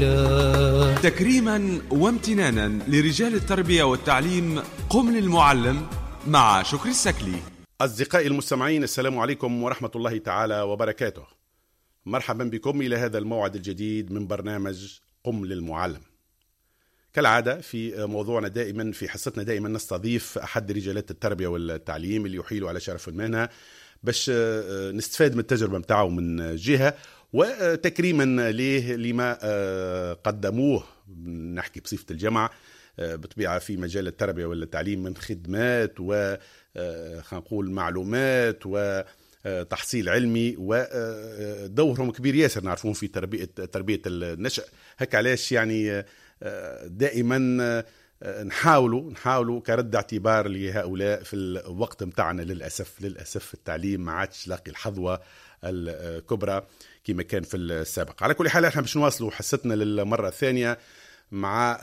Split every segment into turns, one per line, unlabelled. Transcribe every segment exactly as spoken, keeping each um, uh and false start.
العلا.
تكريما وامتنانا لرجال التربية والتعليم، قم للمعلم مع شكري السكلي.
أصدقائي المستمعين، السلام عليكم ورحمة الله تعالى وبركاته. مرحبا بكم إلى هذا الموعد الجديد من برنامج قم للمعلم. كالعادة في موضوعنا دائما، في حصتنا دائما نستضيف أحد رجالات التربية والتعليم اللي يحيل على شرف المهنة باش نستفاد من التجربة متاعه من جهة، وتكريما ليه لما قدموه، نحكي بصفة الجمع بطبيعة في مجال التربية والتعليم من خدمات و خلينا نقول معلومات و تحصيل علمي، ودورهم كبير ياسر نعرفون في تربية تربية النشأ. هكا علاش يعني دائما نحاولوا نحاولوا كرد اعتبار لهؤلاء في الوقت متاعنا. للأسف للأسف التعليم ما عادش لاقي الحظوة الكبرى كما كان في السابق. على كل حال احنا باش نواصلوا حصتنا للمرة الثانية مع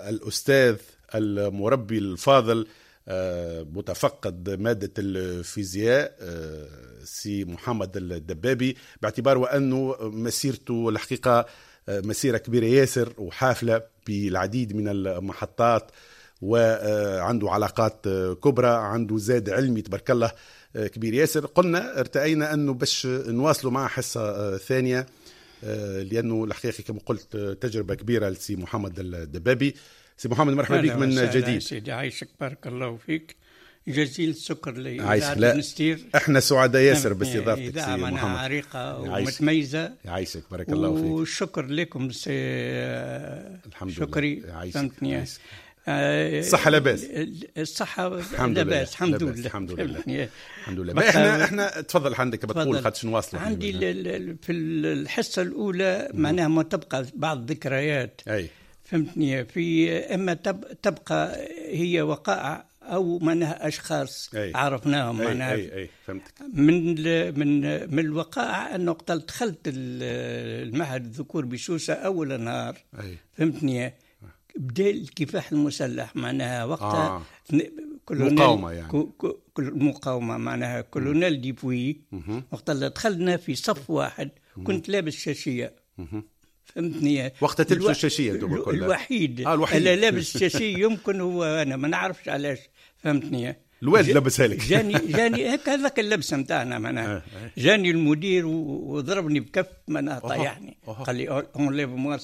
الأستاذ المربي الفاضل متفقد مادة الفيزياء سي محمد الدبابي، باعتبار وأنه مسيرته الحقيقة مسيرة كبيرة ياسر وحافلة بالعديد من المحطات، وعنده علاقات كبرى، عنده زاد علمي تبارك الله كبير ياسر. قلنا ارتأينا أنه باش نواصلوا مع حصة ثانية، لأنه الحقيقة كما قلت تجربة كبيرة لسي محمد الدبابي. سي محمد مرحبا بك من جديد.
سيدي عايشك، بارك الله فيك، جزيل الشكر لإذاعة المستير.
احنا سعداء ياسر باستضافتك سي محمد،
عريقة ومتميزة.
يعيشك بارك الله فيك،
والشكر لكم سي
الحمد
شكري.
فهمتني؟ الصحة لاباس؟
الصحة لاباس الحمد لله،
الحمد لله الحمد لله. احنا احنا تفضل عندك بتقول خاطر نواصلوا.
عندي في الحصة الأولى معناها ما تبقى بعض الذكريات.
أي
فهمتني؟ في اما تبقى هي وقائع او معناها اشخاص
أي.
عرفناهم معناها.
أي أي فهمتك.
من من من الوقائع انه وقت دخلت المعهد الذكور بسوسه اول نهار.
أي.
فهمتني؟ بدا الكفاح المسلح معناها وقتها
آه. مقاومة يعني.
كل مقاومة معناها كولونيل ديبوي. وقت اللي دخلنا في صف واحد كنت لابس شاشيه. فهمتني؟
وقت تلبسوا الشاشيه انتم
كلها. الوحيد, آه الوحيد اللي لابس الشاشيه يمكن هو انا، ما نعرفش علاش. فهمتني؟
الوالد لبسها لك.
جاني جاني هكا هذاك اللبسه نتاعنا معناها. جاني المدير وضربني بكف معناها طيحني، قال لي enlève-moi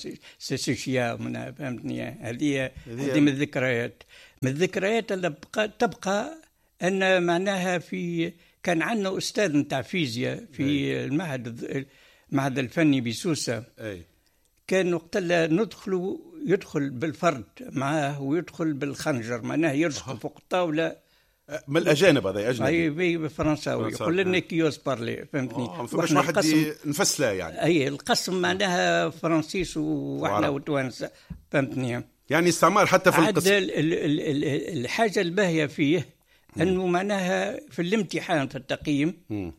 ces شاشيه معناها. فهمتني؟ هذه هذه من الذكريات، من الذكريات اللي بقى تبقى ان معناها في كان عندنا استاذ نتاع فيزياء في المعهد المعهد الفني بسوسه.
أي.
كان وقت ندخلوا يدخل بالفرد معاه ويدخل بالخنجر معناه يرشق فوق الطاولة.
من الاجانب هذا اجنبي؟
اي بالفرنساوي يقول لنا qui ose parler. فهمتني؟
فماش واحد نفسله يعني.
اي القسم معناها فرنسيس واحنا وتوانسه. فهمتني؟
يعني استعمار حتى في القسم.
ال ال ال الحاجة الباهيه فيه انه معناها في الامتحان في التقييم
م.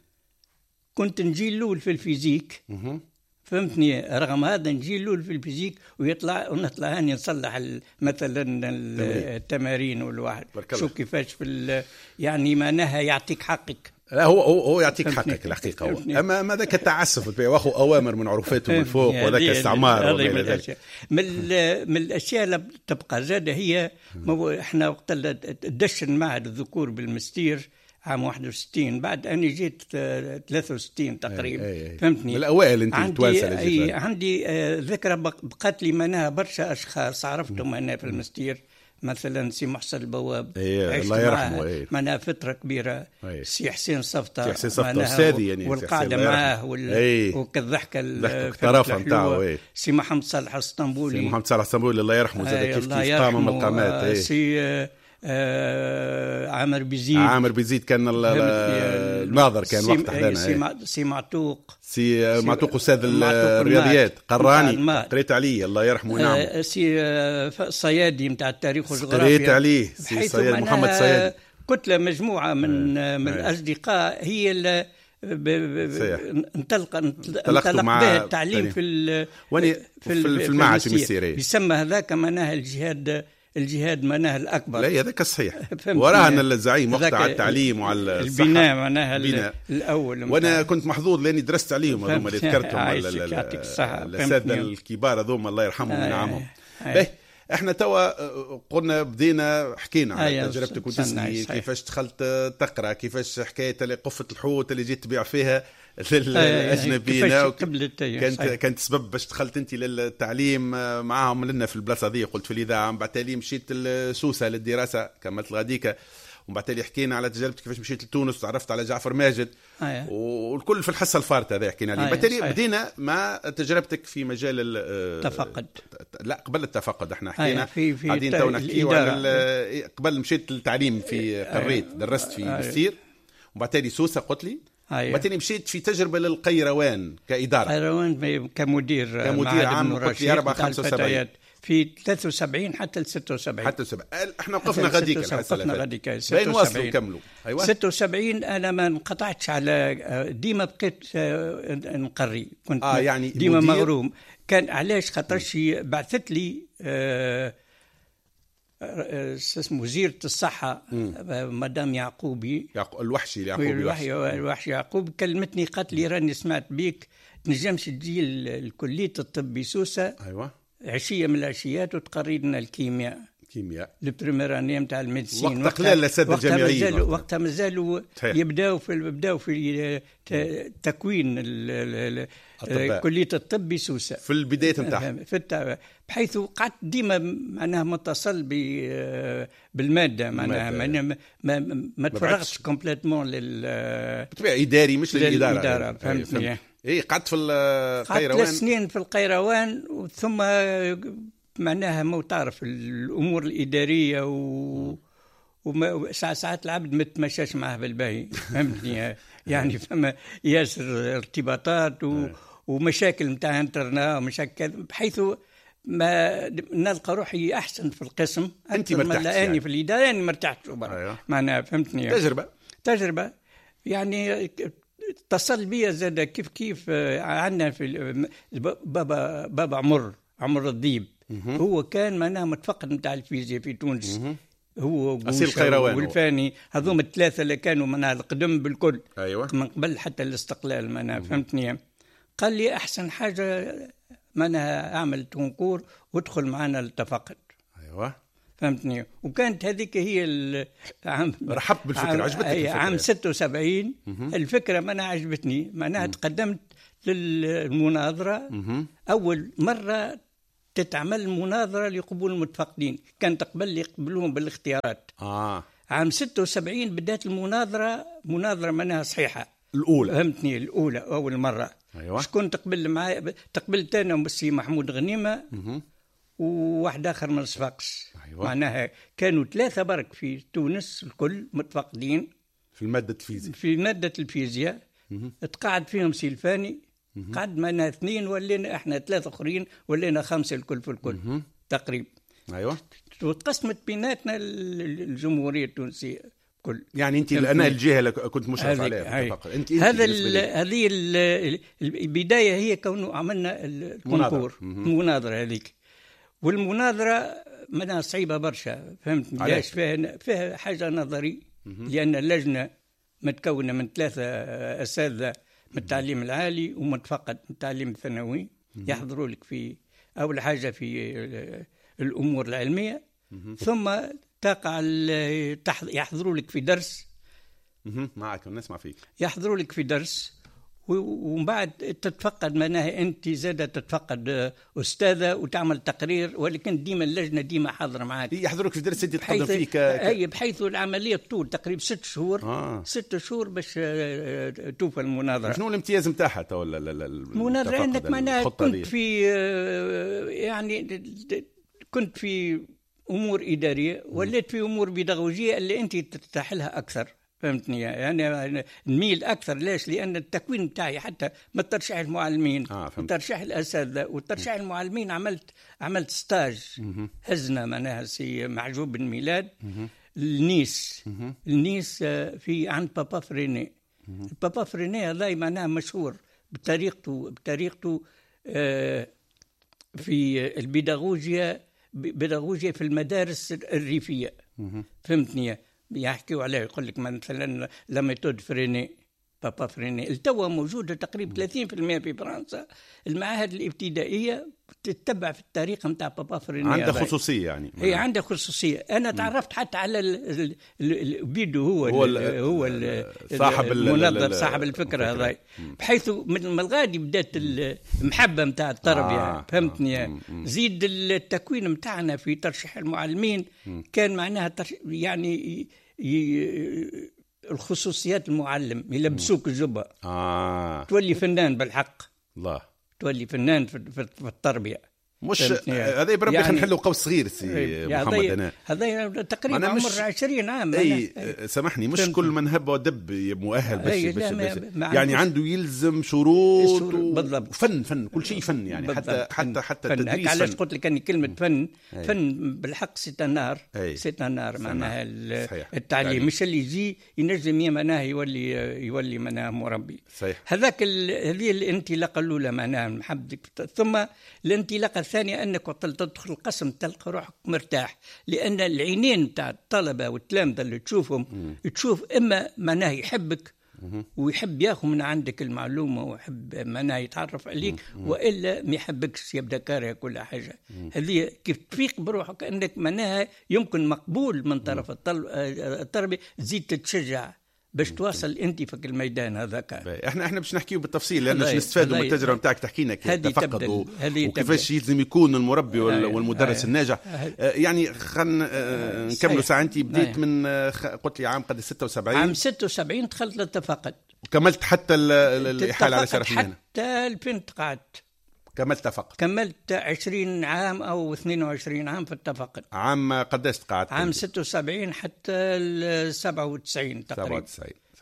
كنت نجي الاول في ال physique.
م.
فهمتني؟ رغم هذا نجي الاول في ال physique ويطلع ونطلع هاني نصلح مثلا التمارين والواحد شو كيفاش في يعني معناها يعطيك حقك.
لا هو هو هو يعطيك حقك الحقيقة هو. اما ما ذاك التعسف واخو اوامر من عروفاته من فوق وذاك استعمار.
من الاشياء من, من الاشياء اللي تبقى زاده هي احنا وقت دشن معهد الذكور بالمستير عام واحد وستين، بعد أنا جيت ثلاثة وستين تقريبا.
أي أي.
فهمتني؟
من الأوائل أنت التوانسة اللي جيت.
عندي ذكرى بقت لي معناها برشا أشخاص عرفتهم أنا في المستير، مثلا سي محسن البواب.
أيه الله يرحمه. أيه.
معناها فترة كبيرة.
أيه.
سي حسين صفطة.
سي حسين صفطة أستاذي يعني.
والقعدة معاه وال...
أيه.
وكالضحكة
الطرافة نتاعو.
سي محمد صالح الاسطنبولي.
سي محمد صالح الاسطنبولي الله يرحمه زاد كيف كيف قام من القامات.
أيه. سي آه عامر بيزيد.
عامر بيزيد كان الناظر كان وقت حدانا.
سي معتوق.
سي معتوق استاذ الرياضيات قراني قريت عليه الله يرحمه. نعم.
آه سي صيادي نتاع التاريخ والجغرافيا
قريت عليه. سي صياد محمد صيادي.
كتلة مجموعة من
آه.
من الاصدقاء هي اللي انطلق انطلق
مع
به التعليم في
في, في المعهد المستيري.
يسمى هذاك معناها الجهاد الجهاد معناها الاكبر.
لا هذاك الصحيح، وراهن الزعيم وقتها على التعليم وعلى
البناء معناها الاول.
وانا كنت محظوظ لاني درست عليهم هذوما اللي ذكرتهم، الاساتذة الكبار هذوما الله يرحمهم وينعمهم. باهي احنا توا قلنا بدينا حكينا على تجربتك وتسني كيفاش دخلت تقرا، كيفاش حكاية اللي قفة الحوت اللي جيت تبيع فيها للاجنبيين، كانت كانت سبب باش دخلت انت للتعليم معاهم لنا في البلاصة ذي، قلت في الاذاعة. من بعد تالي مشيت لسوسه للدراسة، كملت الغديكه. ومن بعد تالي حكينا على تجربتك كيفاش مشيت لتونس وتعرفت على جعفر ماجد، أيه. والكل في الحصة الفارطه هذا حكينا عليه. بعد تالي بدينا مع تجربتك في مجال
التفقد.
لا قبل التفقد احنا حكينا قاعدين تو نحكيو على قبل مشيت للتعليم في قريت، درست في بستير، وبعد تالي سوسة قلت لي، وبعد تالي مشيت في تجربه للقيروان كادارة.
قيروان كمدير
كمدير عام قلت لي أربعة خمسة وسبعين
في ثلاثة وسبعين حتى ل ستة وسبعين.
حتى سبعين احنا وقفنا غاديك،
وقفنا غاديك
بين واصلوا نكملوا.
ايوه ستة وسبعين انا ما انقطعتش على ديما، بقيت نقري، كنت
آه يعني
ديما مغروم. كان علاش؟ خاطرش بعثت لي آه اسمه وزيرة الصحة مدام يعقوبي،
يعقو الوحشي يعقوبي
الوحشي, الوحشي يعقوب، كلمتني قالت لي راني سمعت بيك تنجمش تجي لكلية الطب بسوسة.
ايوه
عشية من العشيات وتقري لنا الكيمياء،
كيمياء
ال première année نتاع ال médecine.
وقت قلال الاساتذة الجامعيين
وقتها مازالوا يبداو في بداو في تكوين كليه الطب بسوسه
في البداية نتاعها،
في بحيث قعدت ديما معناها متصل بالماده، معناها ما ما, ما تفرغتش complètement لل
بالطبيعة اداري مش للادارة.
فهمتني؟
اي قعدت في القيروان
ثلاث سنين في القيروان، ثم معناها ما تعرف الامور الادارية و وما ساعات ساعات العبد ما تمشاش معاه بالباهي، فهمتني؟ يعني فما ياسر ارتباطات و... ومشاكل نتاع internat ومشاكل، بحيث ما نلقى روحي احسن في القسم.
انت مرتاح
يعني في الادارة انا مرتاح. أيوه. معناها فهمتني؟
تجربه
تجربه يعني اتصل بي زاد كيف كيف عندنا في بابا بابا عمر عمر الذيب، هو كان معناها متفقد نتاع الفيزياء في تونس، هو والفاني، هذوما الثلاثة اللي كانوا معناها القدم بالكل.
أيوة.
من قبل حتى الاستقلال معناها، فهمتني؟ قال لي احسن حاجة معناها اعمل concours وادخل معنا التفقد.
ايوه
فهمتني؟ وكانت هذيك هي عام
رحبت بالفكرة، عجبتك الفكرة
عام ستة وسبعين. الفكرة معناها عجبتني، معناها تقدمت للمناظره.
مم.
اول مرة تتعمل مناظرة لقبول المتفقدين، كانت قبل يقبلوهم بالاختيارات.
آه.
عام ستة وسبعين بدأت المناظرة، مناظرة معناها صحيحة
الأولى،
فهمتني؟ الأولى أول مرة.
أيوة.
شكون تقبل معايا؟ تقبلت أنا والسي محمود غنيمة وواحد آخر من صفاقس.
أيوة.
معناها كانوا ثلاثة برك في تونس الكل متفقدين
في المادة الفيزياء،
في مادة الفيزياء. تقعد فيهم سي الفاني، قعد معنا اثنين، ولينا احنا ثلاثة اخرين، ولينا خمسة الكل في الكل تقريبا.
ايوه.
وتقسمت بيناتنا الجمهورية التونسية كل.
يعني انت انا الجهة اللي كنت مشرف عليها.
انت هذا هذه البداية هي كونه عملنا ال concours، المناظرة هذيك. والمناظرة منها صعيبة برشا، فهمت؟ علاش؟ فيها فيها حاجة نظري، لان اللجنة متكونه من ثلاثة اساتذة من التعليم العالي ومتفقد من التعليم الثانوي، يحضروا لك في أول حاجة في الأمور العلمية، ثم تقع يحضروا لك في درس.
معك نسمع فيك.
يحضروا لك في درس، ومن بعد تتفقد معناها أنت زادة تتفقد أستاذة وتعمل تقرير، ولكن ديما اللجنة ديما حاضرة معك.
يحضروك في درس أنت تقدم فيه ك...
أي، بحيث العملية طول تقريبا ست شهور.
آه.
ست شهور باش توفى المناظرة.
شنو الامتياز نتاعها تو
المناظرة؟ أنك معناها كنت في يعني كنت في أمور إدارية، وليت في أمور بيداغوجية اللي أنت ترتاح لها أكثر، فهمتني؟ يعني نميل أكثر. ليش؟ لأن التكوين بتاعي حتى ما ترشح المعلمين،
آه
ترشح الأساتذة، وترشح المعلمين عملت عملت stage هزنا معناها سي معجوب بن ميلاد النيس، النيس في عند بابا فريني. بابا فريني هذا معناها مشهور بطريقته بطريقته آه في البيداغوجيا بيداغوجيا في المدارس الريفية. فهمتني؟ يحكيوا عليه يقول لك مثلا la méthode Freinet، papa Freinet، التوا موجودة تقريبا ثلاثين بالمئة في فرنسا. المعاهد الابتدائية تتبع في الطريقة نتاع papa Freinet،
عندها خصوصية يعني.
هي عندها خصوصية. انا تعرفت حتى على بيدو، هو هو ال هو ال
صاحب
المنظر، صاحب الفكرة هذا، بحيث من الغادي بدات المحبة نتاع التربية. آه. فهمتني؟ آه. زيد التكوين نتاعنا في ترشيح المعلمين مم. كان معناها يعني ي... الخصوصيات المعلم يلبسوك الجبة.
آه.
تولي فنان بالحق.
الله،
تولي فنان في, في التربية.
مش هذا بربي يعني خلينا نحلوا قوس صغير سي محمد. انا
هذا تقريبا عمر عشرين عام.
اي سامحني، مش كل من هب ودب مؤهل باش باش, باش يعني عنده يلزم شروط و...
بالضبط.
فن فن كل شيء فن يعني.
بالضبط.
حتى حتى حتى التدريس.
علاش قلت لك اني كلمة فن؟ أي. فن بالحق c'est un art، c'est un art معناها التعليم، مش اللي يجي ينجم معناها يولي يولي معناها مربي.
صحيح.
هذاك هذه الانطلاقة الاولى معناها محبتك. ثم الانطلاقة الثانية أنك وقت تدخل القسم تلقى روحك مرتاح، لأن العينين تاع الطلبة والتلامذة اللي تشوفهم
مم.
تشوف إما معناه يحبك
مم.
ويحب ياخذ من عندك المعلومة ويحب معناه يتعرف عليك،
مم.
وإلا ما يحبكش يبدأ كاره كل حاجة. هذه كيف تفيق بروحك أنك معناها يمكن مقبول من طرف التربية، تزيد تتشجع باش تواصل انت في الميدان هذاك.
احنا احنا باش نحكيو بالتفصيل لان باش نستفادوا من التجربة نتاعك، تحكي لنا كيف تفقد وكيفاش يلزم يكون المربي والمدرس الناجح. يعني خلينا نكملوا ساعة. انت بديت من قلت لي عام قد ستة وسبعين.
عام ستة وسبعين دخلت للتفقد
وكملت حتى الاحاله على شرف المهنة
حتى ألفين تقعدت.
كملت تفقد.
كملت عشرين عام أو اثنين وعشرين عام في التفقد.
عام قداش تقعدت؟
عام ستة وسبعين حتى سبعة وتسعين تقريبا.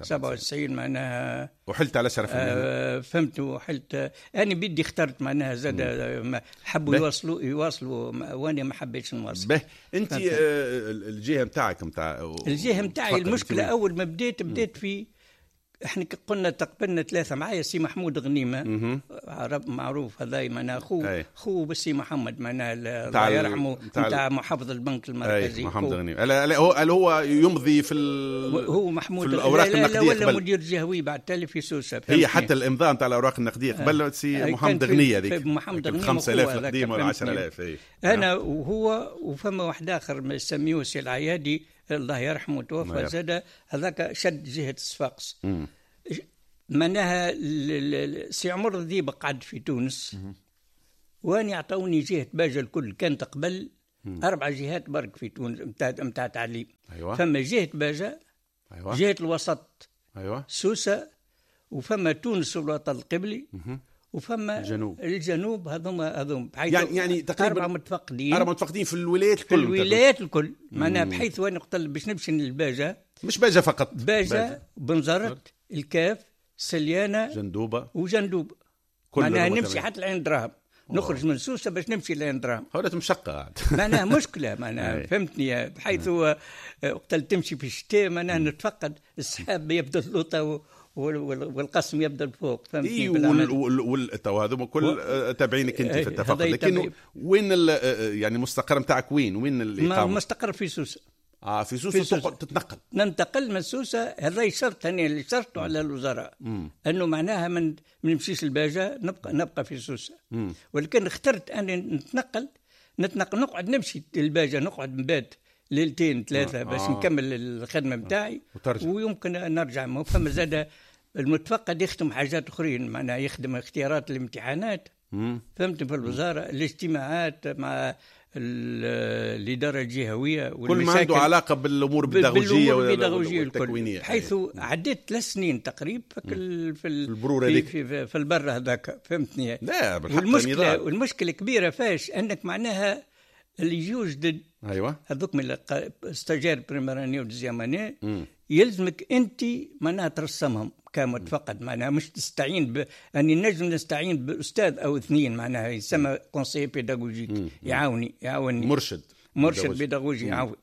سبعة وتسعين معناها.
وحلت على شرف المهنة.
آه فهمت. وحلت أنا بدي اخترت معناها زاد حبوا يواصلوا يواصلوا وأنا ما حبيتش نواصل.
به أنت آه الجهة نتاعك نتاع
الجهة نتاعي المشكلة أول ما بديت بديت في احنا قلنا تقبلنا ثلاثة معايا سي محمود غنيمة عرب معروف هذا معناه خو خو بسي محمد معناه الله يرحمه نتاع محافظ البنك المركزي.
محمد غنيمة لا هو هو يمضي في
هو محمود
في الاوراق النقدية
ولا مدير جهوي بعد تالي في سوسة.
هي حتى الامضاء نتاع الاوراق النقدية قبل سي محمد غنية هذيك
محمد غنيمة
خمسة آلاف القديمة ولا عشرة آلاف.
انا وهو وفما واحد اخر يسميوه سي العيادي الله يرحمه توفى زاد، هذاك شد جهة الصفاقس. معناها سي عمر الذيب قعد في تونس واني عطوني جهة باجة الكل. كانت قبل أربع جهات برك في تونس متاع تعليم.
أيوة.
فما جهة باجة،
أيوة.
جهة الوسط،
أيوة.
سوسة، وفما تونس والوطن القبلي،
مم.
وفما
الجنوب.
الجنوب هذوما هذوما
يعني يعني تقريبا
أربعة متفقدين،
أربعة متفقدين في الولايات الكل،
في الولايات الكل معناها. بحيث وين نقتل باش نمشي للباجة،
مش باجة فقط،
باجة بنزرت الكاف سليانة
جندوبة
وجندوبة، معناها نمشي حتى لعين دراهم، نخرج من سوسة باش نمشي لعين دراهم.
هولات مشقة
معناها مشكلة معناها فهمتني. بحيث وقت تمشي في الشتاء معناها نتفقد السحاب يبدا اللوطة والقسم يبدا الفوق، فهمتني.
إيه وال وال وال تو هذوما كل و... تابعينك انت في التفقد، لكن وين يعني المستقر نتاعك وين وين الاقامة؟
مستقر في سوسة.
اه في سوسة, في سوسة. تتنقل؟
ننتقل من سوسة. هذا شرط انا اللي شرطه على الوزراء انه معناها من ما نمشيش الباجه، نبقى نبقى في سوسة.
مم.
ولكن اخترت اني نتنقل نتنقل نقعد نمشي الباجه، نقعد نبات ليلتين ثلاثة باش
آه.
نكمل الخدمة نتاعي ويمكن نرجع. ما فما زاد المتفقد يخدم حاجات اخرين، معناها يخدم اختيارات الامتحانات، فهمت، في الوزارة، الاجتماعات مع الادارة الجهوية،
كل ما عنده علاقة بالامور البيداغوجيه والتكوينيه.
حيث عديت ثلاث سنين تقريبا في في
البرور
في, في, في البر هذاك، فهمتني.
لا بالحق.
والمشكلة والمشكلة كبيرة فاش انك معناها اللي يجوا جدد،
ايوه،
هذوك من stagiaires première année و deuxième année، يلزمك انت معناها ترسمهم كمتفقد، معناها مش تستعين ب... اني نجم نستعين باستاذ او اثنين، معناها يسمى conseiller pédagogique، يعاوني يعاوني
مرشد
مرشد بيداغوجي يعاون.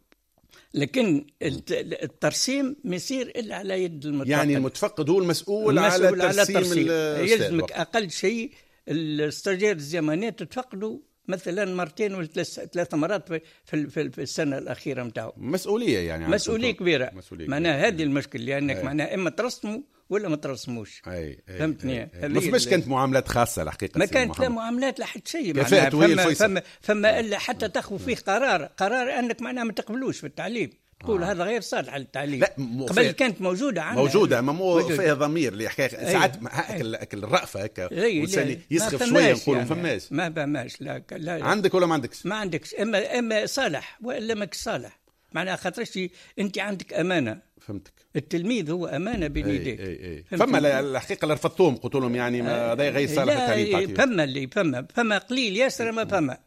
لكن الترسيم ما يصير الا على يد المتفقد.
يعني المتفقد هو المسؤول, المسؤول على ترسيم,
على الترسيم. يلزمك اقل شيء ال stagiaire deuxième année تتفقدوا مثلا مرتين ولا ثلاث مرات في في, في السنة الاخيرة نتاعو.
مسؤولية يعني
مسؤولية كبيرة. معناها هذه المشكلة، لانك معناها اما ترسموا ولا ما ترسموش. فهمتني؟
ما فماش كانت معاملات خاصة الحقيقة،
ما كانت لا معاملات لا حتى شيء. معناها فما, فما, فما الا حتى تاخذ فيه قرار قرار انك معناها ما تقبلوش في التعليم، تقول آه. هذا غير صالح للتعليم. لا قبل كانت موجودة عندنا،
موجودة ما مو فيها ضمير اللي حكاية ساعات هاك الرأفة هكا والانسان يسخف شوية نقولوا ما فماش.
ما فماش. لا, لا
عندك ولا ما عندكش؟
ما عندكش، اما اما صالح والا ماكش صالح. معناها خاطرش انت عندك امانه.
فهمتك.
التلميذ هو امانه بين يديك.
فما الحقيقة اللي رفضتوهم قلت لهم يعني هذا غير صالح للتعليم.
فما اللي فما فما قليل ياسر ما فما.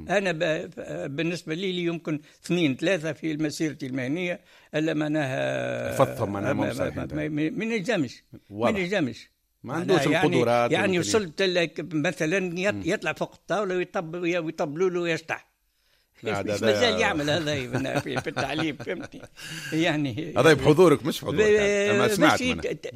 أنا بالنسبة لي لي يمكن اثنين ثلاثة في مسيرتي المهنية ألا معناها
رفضتهم معناها ما
ما نجمش ما نجمش
ما عندوش القدرات.
يعني وصلت لك مثلا يطلع فوق الطاولة ويطب ويطبلوا له ويشطح. مازال يعمل هذا في التعليم. فهمتني؟ يعني
هذا بحضورك مش بحضورك يعني. ما سمعت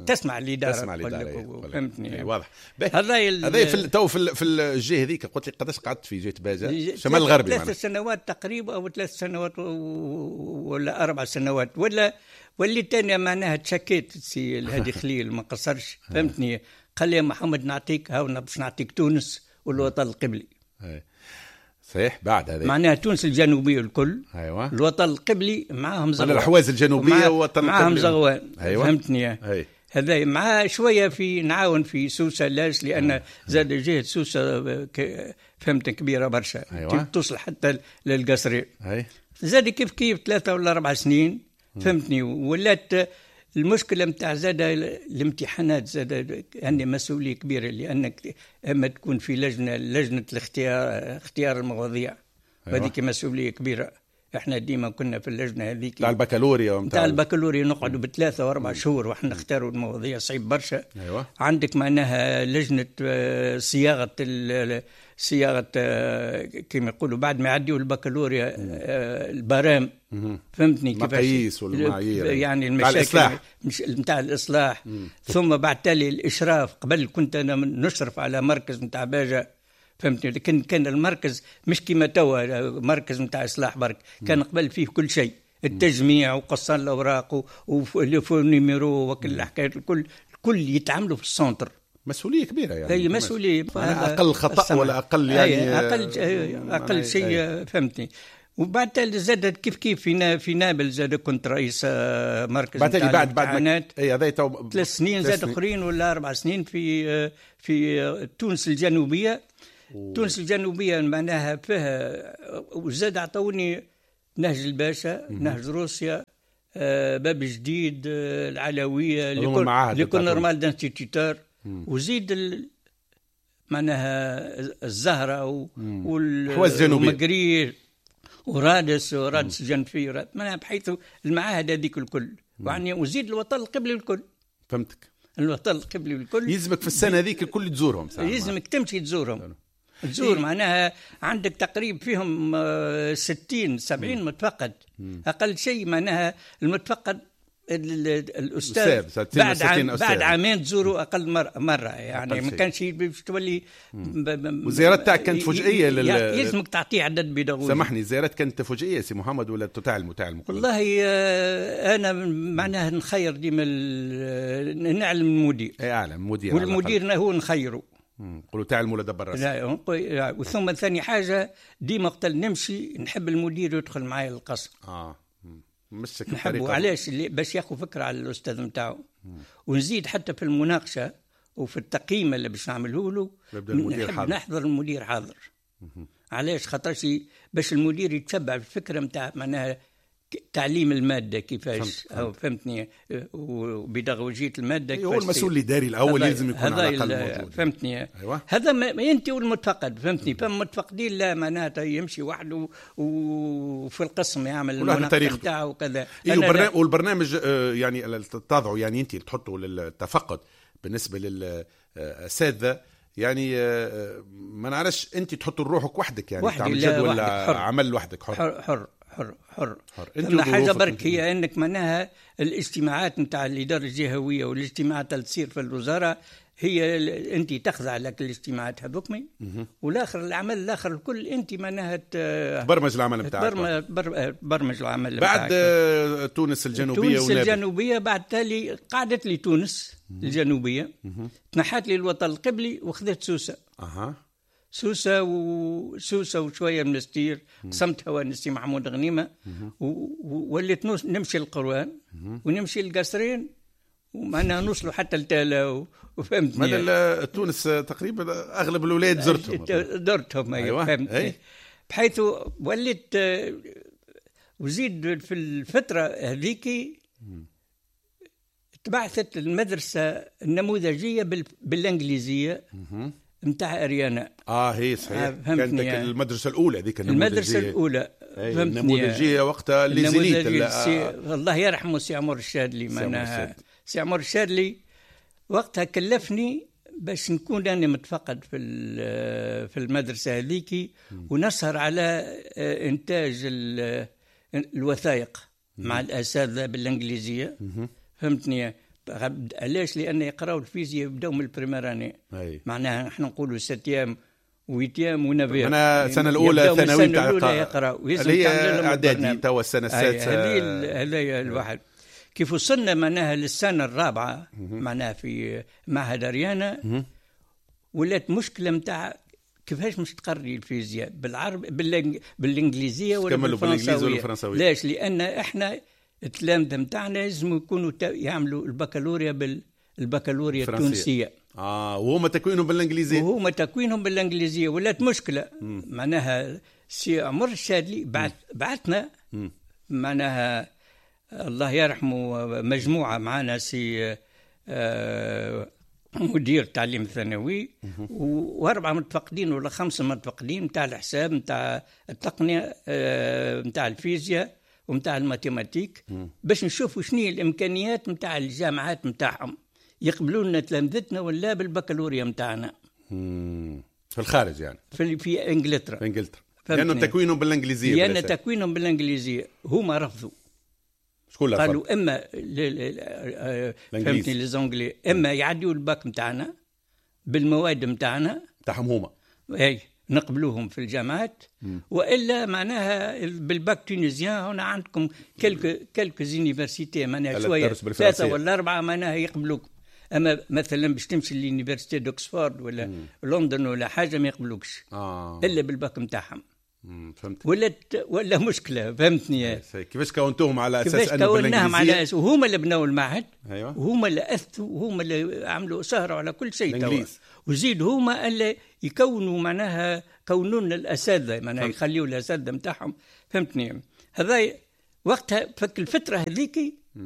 تسمع الإدارة تسمع الإدارة. فهمتني؟
واضح. هذا هذا في تو في في الجهة هذيك قلت لي قداش قعدت في جهة باجة شمال الغربي؟
ثلاث سنوات تقريبا أو ثلاث سنوات ولا أربع سنوات ولا واللي تاني معناها تشكيت سي الهادي خليل ما قصرش. فهمتني؟ قال لي يا محمد نعطيك هاو باش نعطيك تونس والوطن القبلي.
صحيح. بعد هذا
معناها تونس الجنوبية الكل.
أيوة.
الوطن القبلي معاهم زغوان،
الأحواز الجنوبية والوطن القبلي
معاهم زغوان.
أيوة.
فهمتني؟
أي.
هذا مع شوية في نعاون في سوسة لاش، لأن زاد جهة سوسة فهمت كبيرة برشا.
أيوة.
توصل حتى للقصرين.
أي.
زاد كيف كيف ثلاثة ولا أربع سنين. فهمتني؟ ولات المشكلة متاع زاد الامتحانات زاد عندي مسؤولية كبيرة، لأنك أما تكون في لجنة لجنة الاختيار اختيار المواضيع.
أيوة.
هذيك مسؤولية كبيرة. احنا ديما كنا في اللجنة هذيك
تاع البكالوريا
تاع البكالوريا نقعدوا بثلاثة وأربع شهور واحنا نختاروا المواضيع، صعيب برشا.
أيوة.
عندك معناها لجنة صياغة صياغة كما يقولوا بعد ما يعديوا البكالوريا البرام. فهمتني كيفاش؟
المقاييس والمعايير
يعني المشاكل نتاع الإصلاح.
مم.
ثم بعد تالي الإشراف. قبل كنت أنا نشرف على مركز نتاع باجة. فهمتني؟ لكن كان المركز مش كما توا مركز نتاع إصلاح برك، كان قبل فيه كل شيء، التجميع وقصان الأوراق و les faux numéros وكل الحكايات الكل الكل يتعاملوا في ال centre.
مسؤولية كبيرة يعني.
هي مسؤولية.
أقل خطأ ولا أقل يعني
أقل أقل شيء. فهمتني؟ وبعد تالي زاد كيف كيف في في نابل زاد كنت رئيس مركز
بعد بعد بعد اي هذا تو
ثلاث سنين زاد اخرين ولا اربع سنين في في تونس الجنوبية.
أوه.
تونس الجنوبية معناها فيها وزاد عطوني نهج الباشا، نهج روسيا، باب جديد، العلوية، l'école normale d'instituteurs، وزيد ال... معناها الزهرة والمقرير ورادس ورادس جنفي، معناها بحيث المعاهد هذيك الكل، يعني وزيد الوطن القبلي الكل.
فهمتك.
الوطن القبلي الكل
يلزمك في السنة هذيك الكل تزورهم.
يلزمك تمشي تزورهم. تزور معناها عندك تقريب فيهم ستين سبعين متفقد.
مم.
أقل شيء معناها المتفقد الأستاذ بعد عام بعد عامين تزوروا أقل مرة, مرة يعني ما كانش باش تولي.
والزيارات تاعك كانت فجئية لل...
يلزمك تعطيه عدد بيداغوجي.
سامحني، الزيارات كانت فجئية سي محمد ولا تعلم تعلم؟
والله أنا معناها نخير ديما نعلم المدير.
أي أعلم المدير،
والمدير هو نخيره.
نقولوا تعلم ولا دبر راسك.
لا، وثم ثاني حاجة ديما وقت نمشي نحب المدير يدخل معايا للقصر.
آه مش
نحبه. علاش؟ باش ياخذ فكرة على الأستاذ نتاعو. ونزيد حتى في المناقشة وفي التقييم اللي باش نعمله له نحب نحضر المدير حاضر. علاش؟ خاطرش باش المدير يتبع الفكرة نتاع معناها تعليم المادة كيفاش، أو فهمتني، وبيداغوجية المادة كيفاش.
هو المسؤول الإداري الأول لازم يكون على الأقل موجود.
فهمتني.
أيوة.
هذا ما أنت والمتفقد، فهمتني. فما متفقدين لا معناتها يمشي وحده وفي القسم يعمل المناقشة نتاعه وكذا.
إيه، والبرنامج يعني تضعه يعني أنت تحطه للتفقد بالنسبة للأساتذة، يعني ما نعرفش أنت تحط روحك وحدك يعني تعمل جدول عمل وحدك. حر
حر حر حر حر,
حر.
أنت حاجة برك هي أنك معناها الاجتماعات نتاع الإدارة الجهوية والاجتماعات اللي تصير في الوزارة هي انت تخضع لك الاجتماعات هذوك، والاخر العمل الاخر الكل انت معناها
تبرمج العمل نتاعك،
تبرمج العمل
بعد بتاعك. تونس الجنوبية
تونس الجنوبية بعد تالي قعدت لي تونس الجنوبية، تنحت لي الوطن القبلي وخذت سوسة.
اها
سوسة وسوسه وشوية من المنستير، قسمتها ونسي محمود غنيمة، ووليت نمشي القروان ونمشي القصرين ومعناها نوصلوا حتى لتالا وفهمتني.
معناها تونس تقريبا اغلب الولاد زرتهم
زرتهم ايوه فهمتني. بحيث وليت وزيد في الفترة هذيك تبعثت المدرسة النموذجيه بالانجليزية نتاع اريانا.
اه هي صحيح، كانت يعني المدرسة الاولى هذيك
النموذجيه، المدرسة الاولى
فهمتني، النموذجيه وقتها les élites.
الله يرحمه سي عمر الشادلي، معناها سي عمر الشادلي وقتها كلفني باش نكون انا متفقد في في المدرسة هذيك ونسهر على انتاج الوثائق مع الاساتذة بالانجليزية. فهمتني علاش؟ لان يقراوا الفيزياء يبداو من ال première année، معناها نحن نقولوا septième huitième و neuvième،
انا السنة الاولى ثانوي
تاع يقراوا
اللي هي اعدادي توا السنة السادسة.
هذه الواحد كيف وصلنا معناها للسنة الرابعة معناها في معهد اريانا، ولات مشكلة نتاع كيفاش مش تقري الفيزياء بالعرب بالانجليزية ولا بالفرنساويه. ليش؟ لان احنا التلامذه نتاعنا لازم يكونوا يعملوا البكالوريا بالبكالوريا التونسية.
اه وهما تكوينهم بالانجليزية،
وهما تكوينهم بالانجليزية ولات مشكلة. مم. معناها سي عمر الشادلي بعث بعثنا معناها الله يرحمه مجموعة معنا سي آه مدير تعليم الثانوي واربعة متفقدين ولا خمسة متفقدين نتاع الحساب نتاع التقنية نتاع الفيزياء ومتاع ال mathématiques، باش نشوفوا شنو هي الامكانيات نتاع الجامعات نتاعهم، يقبلوا لنا تلامذتنا ولا بالبكالوريا نتاعنا
في الخارج يعني
في في انجلترا.
في انجلترا لانه تكوينهم بالانجليزية،
لان تكوينهم بالانجليزية هما رفضوا.
شكون
قالوا اما فهمتني les Anglais اما يعديوا الباك نتاعنا بالمواد نتاعنا
نتاعهم هما
اي نقبلوهم في الجامعات، والا معناها بال bac tunisien هنا عندكم quelques quelques universités معناها شوية ثلاثة ولا اربعة معناها يقبلوكم. اما مثلا باش تمشي l'université d'Oxford ولا مم. لندن ولا حاجة ما يقبلوكش
آه.
الا بالباك نتاعهم.
فهمت.
ولا ولا مشكلة فهمتني.
كيفاش كونتوهم على اساس
انه بالانجليزية؟ على أساس وهما اللي بنوا المعهد.
ايوه
وهما اللي اثوا وهما اللي عملوا سهروا على كل شيء توا، وزيد هما اللي يكونوا معناها كونوا لنا الاساتذة معناها يخليوا الاساتذة نتاعهم فهمتني. هذا وقتها فك الفترة هذيك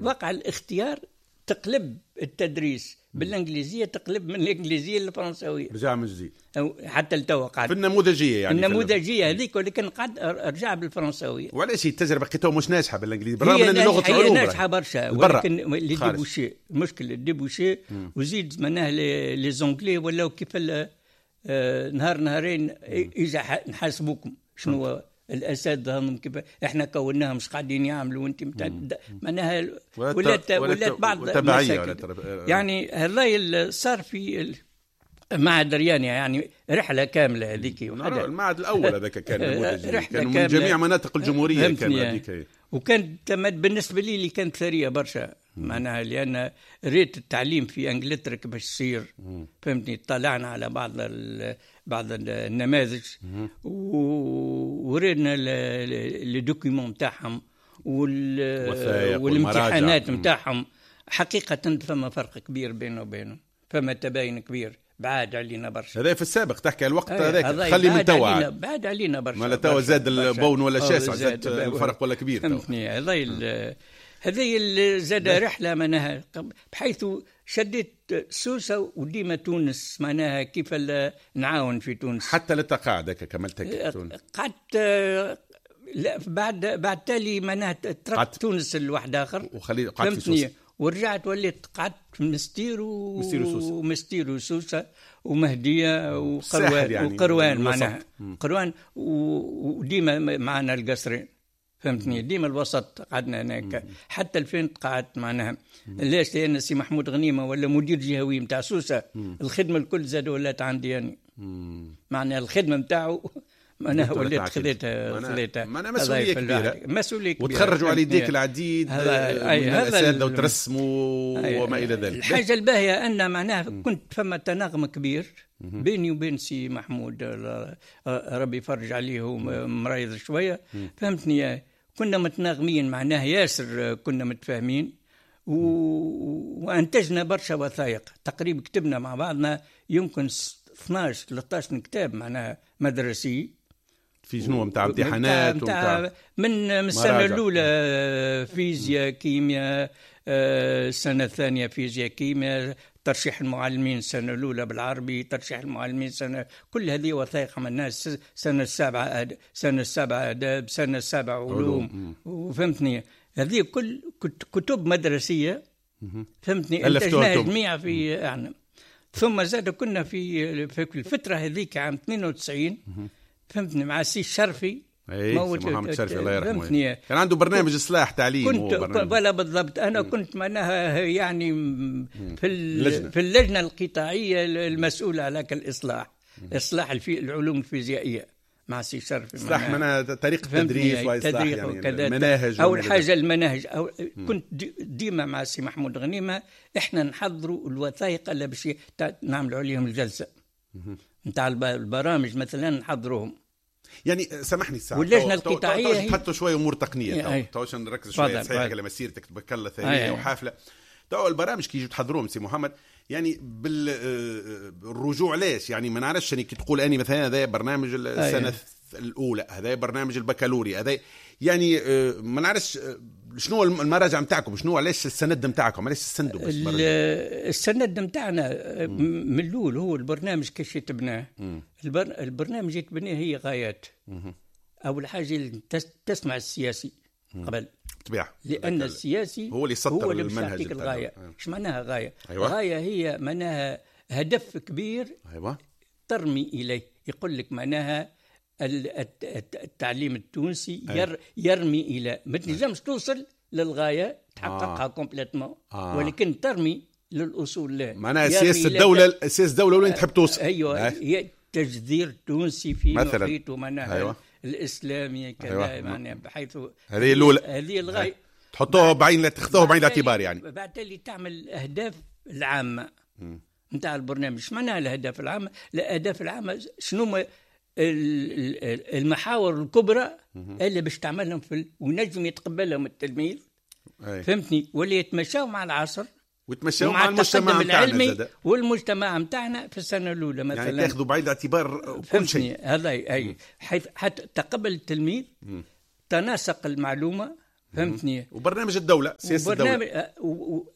وقع الاختيار تقلب التدريس بالانجليزية، تقلب من الانجليزية للفرنساويه،
رجع من جديد
حتى لتوا قعد
في النموذجيه يعني
النموذجيه هذيك، ولكن قعد رجع بالفرنساويه.
وعلاش التجربة لقيتها مش ناجحة بالانجليزي بالرغم من لغة العلوم
هي ناجحة برشا، ولكن les débouchés المشكل ال débouchés، وزيد معناها les Anglais ولاو كيف نهار نهارين اجا نحاسبوكم شنو الاساتذة هم كيف احنا كوناهم مش قاعدين يعملوا وانت معناها ولات ولات بعض
المشاكل
يعني. هذا صار في معهد ريانيا يعني رحله كاملة هذيك،
المعهد الاول هذاك كان نموذجي، كانوا من جميع مناطق الجمهورية كان هذيك،
وكانت بالنسبة لي اللي كانت ثرية برشا معناها، لان ريت التعليم في انجلترا كيفاش يصير فهمتني. طلعنا على بعض بعض النماذج ورينا les documents نتاعهم والامتحانات نتاعهم. حقيقة فما فرق كبير بينه وبينهم، فما تباين كبير، بعاد علينا برشا.
هذا في السابق تحكي على الوقت هذاك، خلي من توا
بعاد علينا برشا.
ما توا زاد البون ولا شاسع، زاد الفرق ولا كبير
فهمتني. هذا هذه زاد رحله معناها، بحيث شديت سوسة وديما تونس معناها كيف نعاون في تونس
حتى للتقاعد هكا كملت تونس.
قعدت لا بعد بعد تالي معناها تركت تونس لواحد اخر
وخلي قعدت في سوسة،
ورجعت وليت قعدت في مستير و...
مستير وسوسه
ومستير وسوسه ومهديه وقروان
يعني
وقروان معناها قروان وديما معنا القصرين. فهمتني؟ ديما الوسط قعدنا هناك حتى ألفين قعدت معناها. ليش؟ لان سي محمود غنيمة ولا مدير جهوي نتاع سوسة، الخدمة الكل زاد ولات عندي يعني. معناها الخدمة نتاعو معناها وليت خذيتها خذيتها
معناها مسؤولية كبيرة،
مسؤولية كبيرة،
وتخرجوا على يديك العديد من الاساتذة وترسموا وما الى ذلك.
الحاجة الباهيه ان معناها كنت فما تناغم كبير بيني وبين سي محمود، ربي يفرج عليه ومريض شوية، فهمتني؟ كنا متناغمين معناها ياسر، كنا متفاهمين و... وانتجنا برشا وثائق، تقريبا كتبنا مع بعضنا يمكن اثناش ثلاثة عشر كتاب معناها مدرسي
في شنو نتاع امتحانات
متاع من السنة الاولى فيزياء كيمياء، السنة الثانية فيزياء كيمياء، ترشيح المعلمين السنة الاولى بالعربي، ترشيح المعلمين سنة، كل هذه وثائق عملناها. السنة السابعة سنة السابعة اداب، سنة السابعة علوم، وفهمتني هذه كل كتب مدرسيه، فهمتني، انتجناها جميع في يعني. ثم زاد كنا في في الفترة هذيك عام اثنين وتسعين، فهمتني، مع سي الشرفي،
اي محمد الشرفي الله يرحمه، كان عنده برنامج اصلاح تعليم.
كنت ولا بالضبط انا مم. كنت معناها يعني في اللجنة. في اللجنة القطاعيه المسؤولة على الاصلاح، اصلاح الفي العلوم الفيزيائية مع سي الشرفي،
اصلاح معناها طريقه التدريس واصلاح يعني المناهج.
اول حاجة المناهج، أو كنت ديما مع سي محمود غنيمة احنا نحضروا الوثائق اللي باش نعملوا عليهم الجلسة نتاع البرامج مثلا نحضروهم.
يعني سامحني الساعة
واللجنة القطاعيه
تحطوا شوية امور تقنية تو عشان نركز شوية صحيح على مسيرتك تبارك الله ثرية وحافلة. تو البرامج كي يجوا تحضروهم سي محمد يعني بالرجوع ليش يعني ما نعرفش يعني كي تقول اني مثلا هذا برنامج السنة الاولى، هذا برنامج البكالوريا، هذا يعني ما نعرفش شنو المراجع نتاعكم، شنو علاش السند نتاعكم، علاش تسندوا؟
السند نتاعنا من الاول هو البرنامج كيفاش يتبناه. البرنامج يتبناه هي غايات. مم. اول حاجة تسمع السياسي قبل
بالطبيعة،
لان السياسي
هو اللي يسطر المنهج.
الغاية ايش معناها غاية؟ أيوة. غاية هي معناها هدف كبير.
أيوة.
ترمي اليه، يقول لك معناها التعليم التونسي ير يرمي الى، ما تنجمش توصل للغاية تحققها آه. complètement آه. ولكن ترمي للاصول له.
معناها سياسة الدولة، سياسة الدولة وين تحب توصل.
ايوه آه. تجذير تونسي في محيطه معناها. أيوة. الاسلامي كذا. أيوة. معناها بحيث
هذه الاولى،
هذه الغاية
تحطوها بعين، تاخذوها بعين الاعتبار يعني.
بعد تالي تعمل الاهداف العامة نتاع البرنامج. ايش معناها الاهداف العامة؟ الاهداف العامة شنو المحاور الكبرى اللي باش تعملهم في ال... ونجم يتقبلهم التلميذ. أي. فهمتني، واللي يتمشاو مع العصر
ويتمشاو مع المجتمع
العلمي والمجتمع نتاعنا في السنة الاولى مثلا،
يعني تاخذوا بعين الاعتبار كل شيء
هذا. اي حيث حتى تقبل التلميذ، مم. تناسق المعلومة، فهمتني.
وبرنامج الدولة، سياسة الدولة،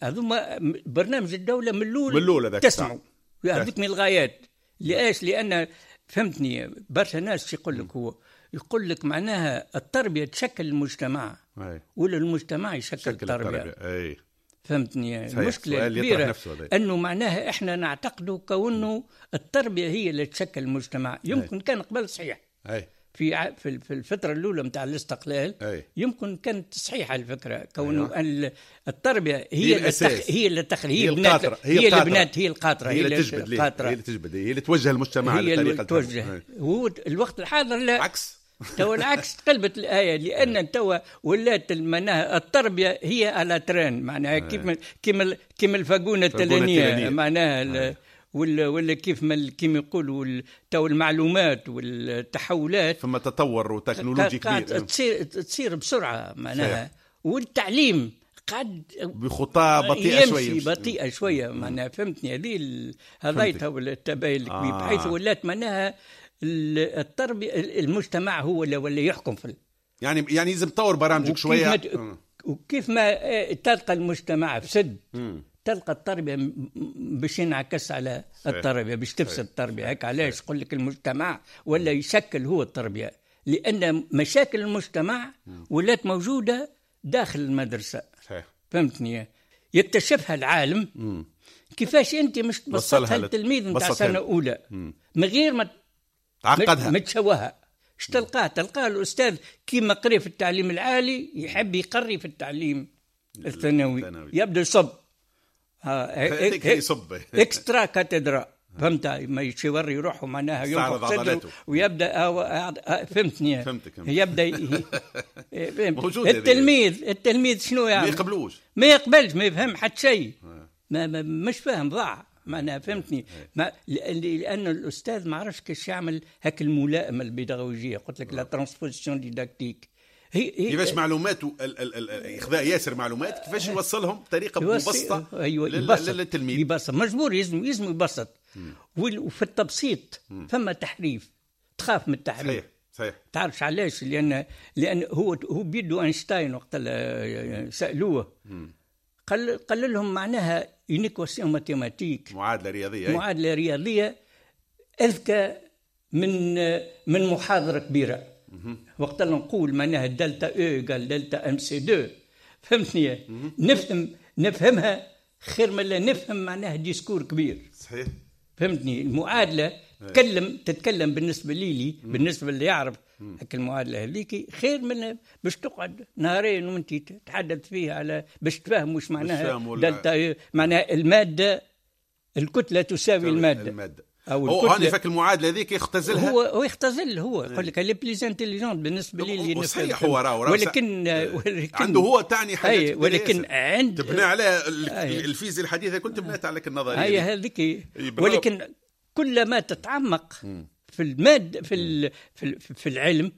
هذوما برنامج الدولة من الاول
من الاول
تسمعوا هذوك من الغايات. ليش؟ لان فهمتني برشا ناس يقول لك، هو يقول لك معناها التربية تشكل المجتمع. أي. ولا المجتمع يشكل التربية.
أي.
فهمتني المشكلة الكبيرة انه معناها احنا نعتقد كونه التربية هي اللي تشكل المجتمع. يمكن أي. كان قبل صحيح.
أي.
في في الفترة الاولى نتاع الاستقلال.
أي.
يمكن كانت صحيحه الفكرة كونه أيوة. التربية هي اللي تخ... هي اللي تخ...
هي القاطره،
هي اللي بنات، هي القاطره،
هي اللي تجبد، هي اللي تجبد، هي اللي توجه المجتمع
على الطريقة توجه. هو الوقت الحاضر لا
عكس
تو العكس، تقلبت الايه، لان توا ولات معناها التربية هي على train معناها كيف كيما كيما الفاقونه التلانيه معناها، ولا ولا كيف ما كيما يقولوا تو المعلومات والتحولات،
فما تطور وتكنولوجي كبير
تصير تصير بسرعة معناها. والتعليم قاعد
بخطى بطيئه شوية،
بطيئه شوية معناها. فهمتني هذه هذا تو التباين الكبير. آه. بحيث ولات معناها التربية المجتمع هو اللي ولا يحكم في
يعني يعني لازم تطور برامجك شوية.
وكيف ما تلقى المجتمع فسد، تلقى التربية باش ينعكس على التربية، باش تفسد التربية. هيك علاش يقول لك المجتمع ولا يشكل هو التربية، لان مشاكل المجتمع ولات موجودة داخل المدرسة.
صحيح.
فهمتني، يكتشفها العالم.
مم.
كيفاش انت مش تبسطها للتلميذ نتاع سنة اولى من غير ما
تعقدها،
ما تشوهها. اش تلقاه؟ تلقاه الاستاذ كيما قري في التعليم العالي يحب يقري في التعليم الثانوي، يبدا يصب
يصب
extra cathedra، فهمت؟ ما يوري روحه معناها ينفخ صدره ويبدا، فهمتني؟
فهمتك.
يبدا موجود التلميذ، التلميذ شنو يعمل؟
ما يقبلوش،
ما يقبلش، ما يفهم حتى شيء، ما, ما مش فاهم، ضاع معناها، فهمتني؟ ما لأن الأستاذ ما عرفش كيفاش يعمل هاك الملائمة البيداغوجية، قلت لك la transposition didactique.
هي كيفاش معلوماته، إخذاء ياسر معلومات كيفاش يوصلهم بطريقة مبسطة.
أيوة، للتلميذ يبسط، مجبور يلزم يلزم يبسط. وفي التبسيط فما تحريف، تخاف من التحريف.
صحيح صحيح.
تعرفش علاش؟ لأن لأن هو هو بيدو أينشتاين وقت سألوه قال قال لهم معناها une équation mathématique،
معادلة رياضية،
معادلة رياضية اذكى من من محاضرة كبيرة. وقت اللي نقول معناها delta E égale delta m c deux، فهمتني؟ نفهم نفهمها خير من لا نفهم معناها discours كبير.
صحيح.
فهمتني؟ المعادلة تتكلم تتكلم بالنسبة لي لي بالنسبة اللي يعرف هاك المعادلة هذيك خير من باش تقعد نهارين وانت تتحدث فيها على باش تفهم واش معناها دلتا، معناها المادة الكتلة تساوي المادة,
المادة. أو هو هاني فك المعادلة هذيك يختزلها،
هو هو يختزل، هو يقول لك les plus intelligents بالنسبة لي
اللي صحيح هو راهو،
ولكن, ولكن
عنده هو تعني حاجات،
ولكن عند
تبنى على الفيزياء الحديثة كنت بنات عليك النظرية
هي هذيك، ولكن كلما تتعمق في المادة في في في العلم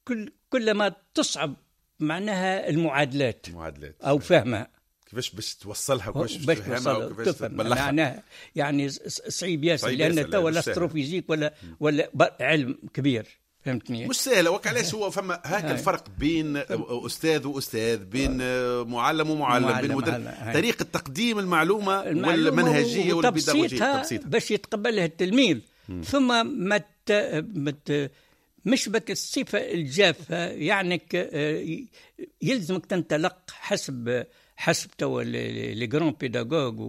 كل كلما تصعب معناها المعادلات
المعادلات
او فهمها،
كيفاش باش توصلها وكيفاش باش تفهمها وكيفاش تبلغها،
معناها يعني صعيب ياسر، لان توا l'astrophysique ولا ولا علم كبير، فهمتني؟
مش سهلة. وك علاش هو فما هاك الفرق بين استاذ واستاذ، بين معلم ومعلم، بين مدرس، طريقه تقديم المعلومة, والمنهجيه والبيداغوجيه
باش يتقبلها التلميذ. ثم ما مت مش بك الصفة الجافه، يعني يلزمك تنطلق حسب حسب توا les grands pédagogues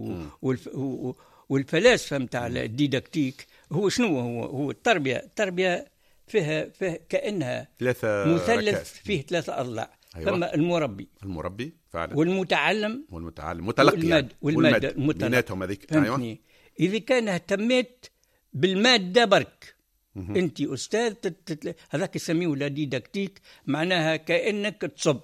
والفلاسفة نتاع ال didactique. هو شنو هو؟ هو التربية، التربية فيها, فيها كانها
ثلاثة
مثلث فيه ثلاثة اضلاع.
أيوة.
ثم المربي
المربي فعلا،
والمتعلم
والمتعلم متلقي
والمادة, والمادة
بيناتهم هذيك.
أيوة. اذا كان اهتميت بالماده برك، انت استاذ تتل... هذاك يسميه la didactique، معناها كانك تصب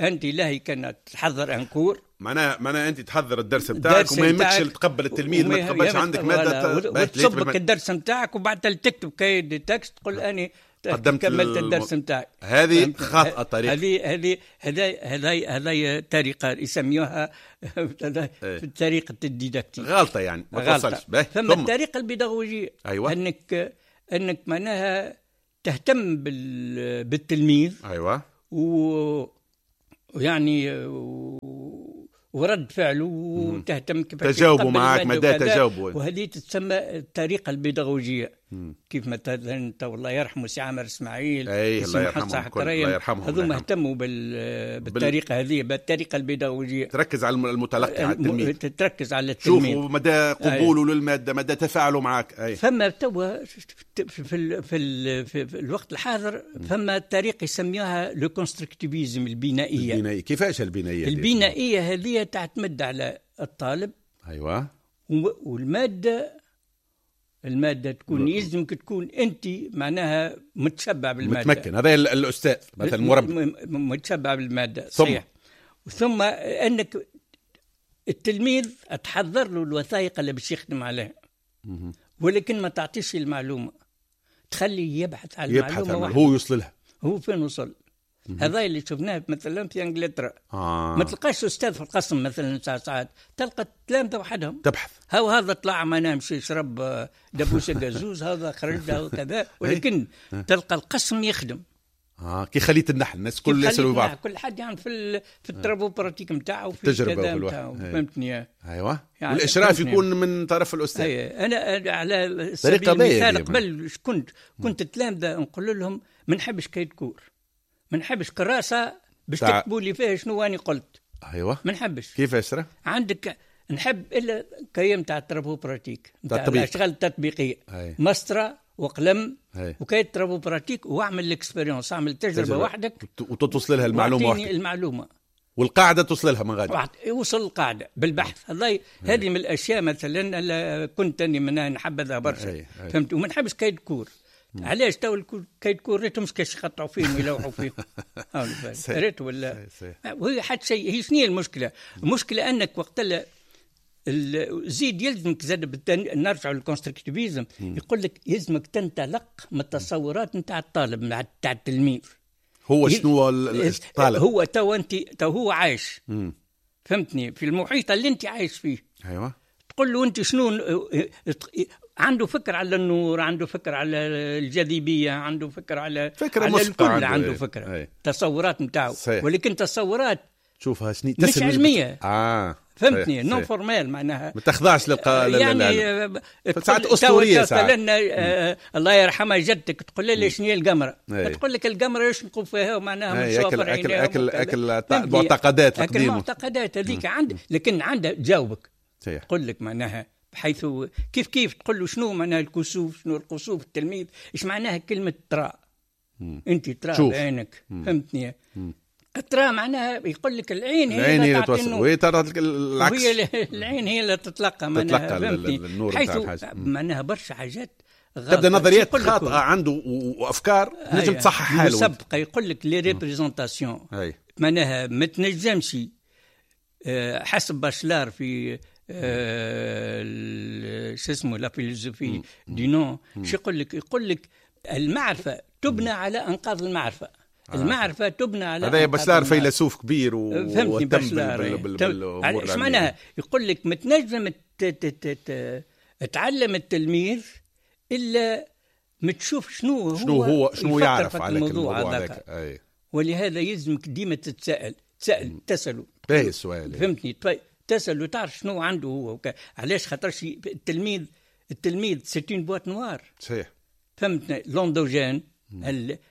انت لاهي كان تحضر un cours،
معناها معناها انت تحضر الدرس نتاعك وما يهمكش تقبل التلميذ، ما تقبلش عندك مادة،
تصبك الدرس نتاعك وبعد تكتب cahier de texte تقول اني
قدمت
كملت الدرس نتاعي.
هذه خاطئه طريقه،
هذه هذه هذه هذه هذه طريقه يسميوها طريقه ال didactique،
غلطه يعني ما توصلش.
ثم الطريقة البيداغوجيه.
أيوة.
انك انك معناها تهتم بال... بالتلميذ.
ايوه.
و ويعني و... ورد فعله وتهتم كيف
تجاوبوا معك مدى تجاوبه،
وهذه تسمى الطريقة البيداغوجيه. كيف مثلا انت والله يرحمه سي عامر اسماعيل،
اي الله يرحمه، الله يرحمه،
هذوما اهتموا بال... بالطريقة هذه، بالطريقة البيداغوجيه.
تركز على المتلقي، على التلميذ،
تركز على التلميذ،
شوفوا مدى قبوله للمادة، مدى تفاعله معك. أي.
فما توا في ال... في, ال... في الوقت الحاضر فما طريقه يسميوها le constructivisme، البنائيه.
البنائيه كيفاش البنائيه؟
البنائيه هذه تعتمد على الطالب.
ايوه.
والمادة، المادة تكون يلزمك تكون انت معناها متشبع بالماده،
متمكن. هذا الاستاذ مثلا المربي
متشبع بالماده، صحيح. ثم انك التلميذ تحضر له الوثائق اللي باش يخدم عليها، ولكن ما تعطيش المعلومة، تخليه يبحث على المعلومة،
هو يوصل لها،
هو فين وصل. هذا اللي شفناه مثلا في انجلترا.
آه.
ما تلقاش استاذ في القسم مثلا ساعات ساعات، تلقى التلامذه وحدهم
تبحث.
هاو هذا طلع ما نامش يشرب دبوسه قزوز، هذا خرج له كذا، ولكن تلقى القسم يخدم.
اه كي خليت النحل الناس كل يسالوا بعض،
كل حد يعني في ال... في ال travaux pratiques نتاعو، في
التجربة وفي
فهمتني؟
ايوه. يعني والاشراف يكون من طرف الاستاذ.
أيه. انا على سبيل المثال قبل كنت كنت التلامذه نقول لهم ما نحبش cahier de cours، ما نحبش كراسة باش تع... تكتبوا لي فيها شنو اني قلت.
ايوه.
ما نحبش.
كيفاش راه؟
عندك نحب الا cahier تاع ال travaux pratiques، نتاع الاشغال التطبيقية. أي. مسطرة وقلم و cahier travaux pratiques واعمل l'expérience، اعمل تجربه وحدك
وتوصل لها المعلومة وحدك.
المعلومة
والقاعدة توصل لها من غادي،
يوصل القاعدة بالبحث. هذا هذه من الاشياء مثلا كنت اني من نحبذها برشا، فهمت؟ وما نحبش cahier de cours. علاش تو cahier de cours ريتهم كاش يقطعوا فيهم ويلوحوا فيهم ريت ولا وهي حتى شيء. هي شنو المشكلة؟ المشكلة انك وقت زيد يلزمك زاد نرجع لل constructivisme، يقول لك يلزمك تنطلق من التصورات نتاع الطالب نتاع التلميذ.
هو شنو الطالب؟
هو تو انت تو هو عايش، مم. فهمتني، في المحيط اللي انت عايش فيه.
ايوه
تقول له انت شنو عنده فكر على النور، عنده فكر على الجاذبية، عنده فكر على
فكرة
على الكل، عنده, عنده فكرة.
أي.
تصورات نتاعو، ولكن تصورات
تشوفها شنو
مش علمية.
اه
فهمتني، non formelle معناها
ما تخضعش للق...
يعني
ساعات اسطورية ساعات.
مثلا آه الله يرحمها جدتك تقول لها شنو هي القمره؟ تقول لك القمره يشنقوا فيها ومعناها
من شوفر اكل اكل اكل المعتقدات القديمة،
المعتقدات هذيك عند، لكن عندها تجاوبك تقول لك معناها بحيث كيف كيف تقول له شنو معناها الكسوف، شنو الكسوف التلميذ، ايش معناها كلمة ترى، انت ترى بعينك، فهمتني؟ ترى معناها يقول لك العين هي
العين هي اللي توصل، وهي ترى العكس،
وهي العين هي اللي تتلقى معناها،
تتلقى النور
حيث معناها برشا حاجات
تبدا نظريات خاطئه عنده وافكار تنجم تصحح حاله
مسبقة. يقول لك les représentations معناها ما تنجمش حسب باشلار في شو اسمه la philosophie du nom، شو يقول لك؟ يقول لك المعرفة تبنى على انقاض المعرفة. آه. المعرفة تبنى على
هذا بشلار فيلسوف كبير و...
فهمتني بشلار
بال...
ايش معناها؟ يقول لك ما تنجم تعلم التلميذ الا ما تشوف شنو هو
شنو هو شنو يعرف على الموضوع هذاك.
ولهذا يلزمك ديما تتساءل، تسأل تسأله
باهي السؤال،
فهمتني؟ تسأله تعرف شنو عنده هو. علاش؟ خاطرش التلميذ التلميذ c'est une boîte noire.
صحيح،
فهمتني؟ l'endogène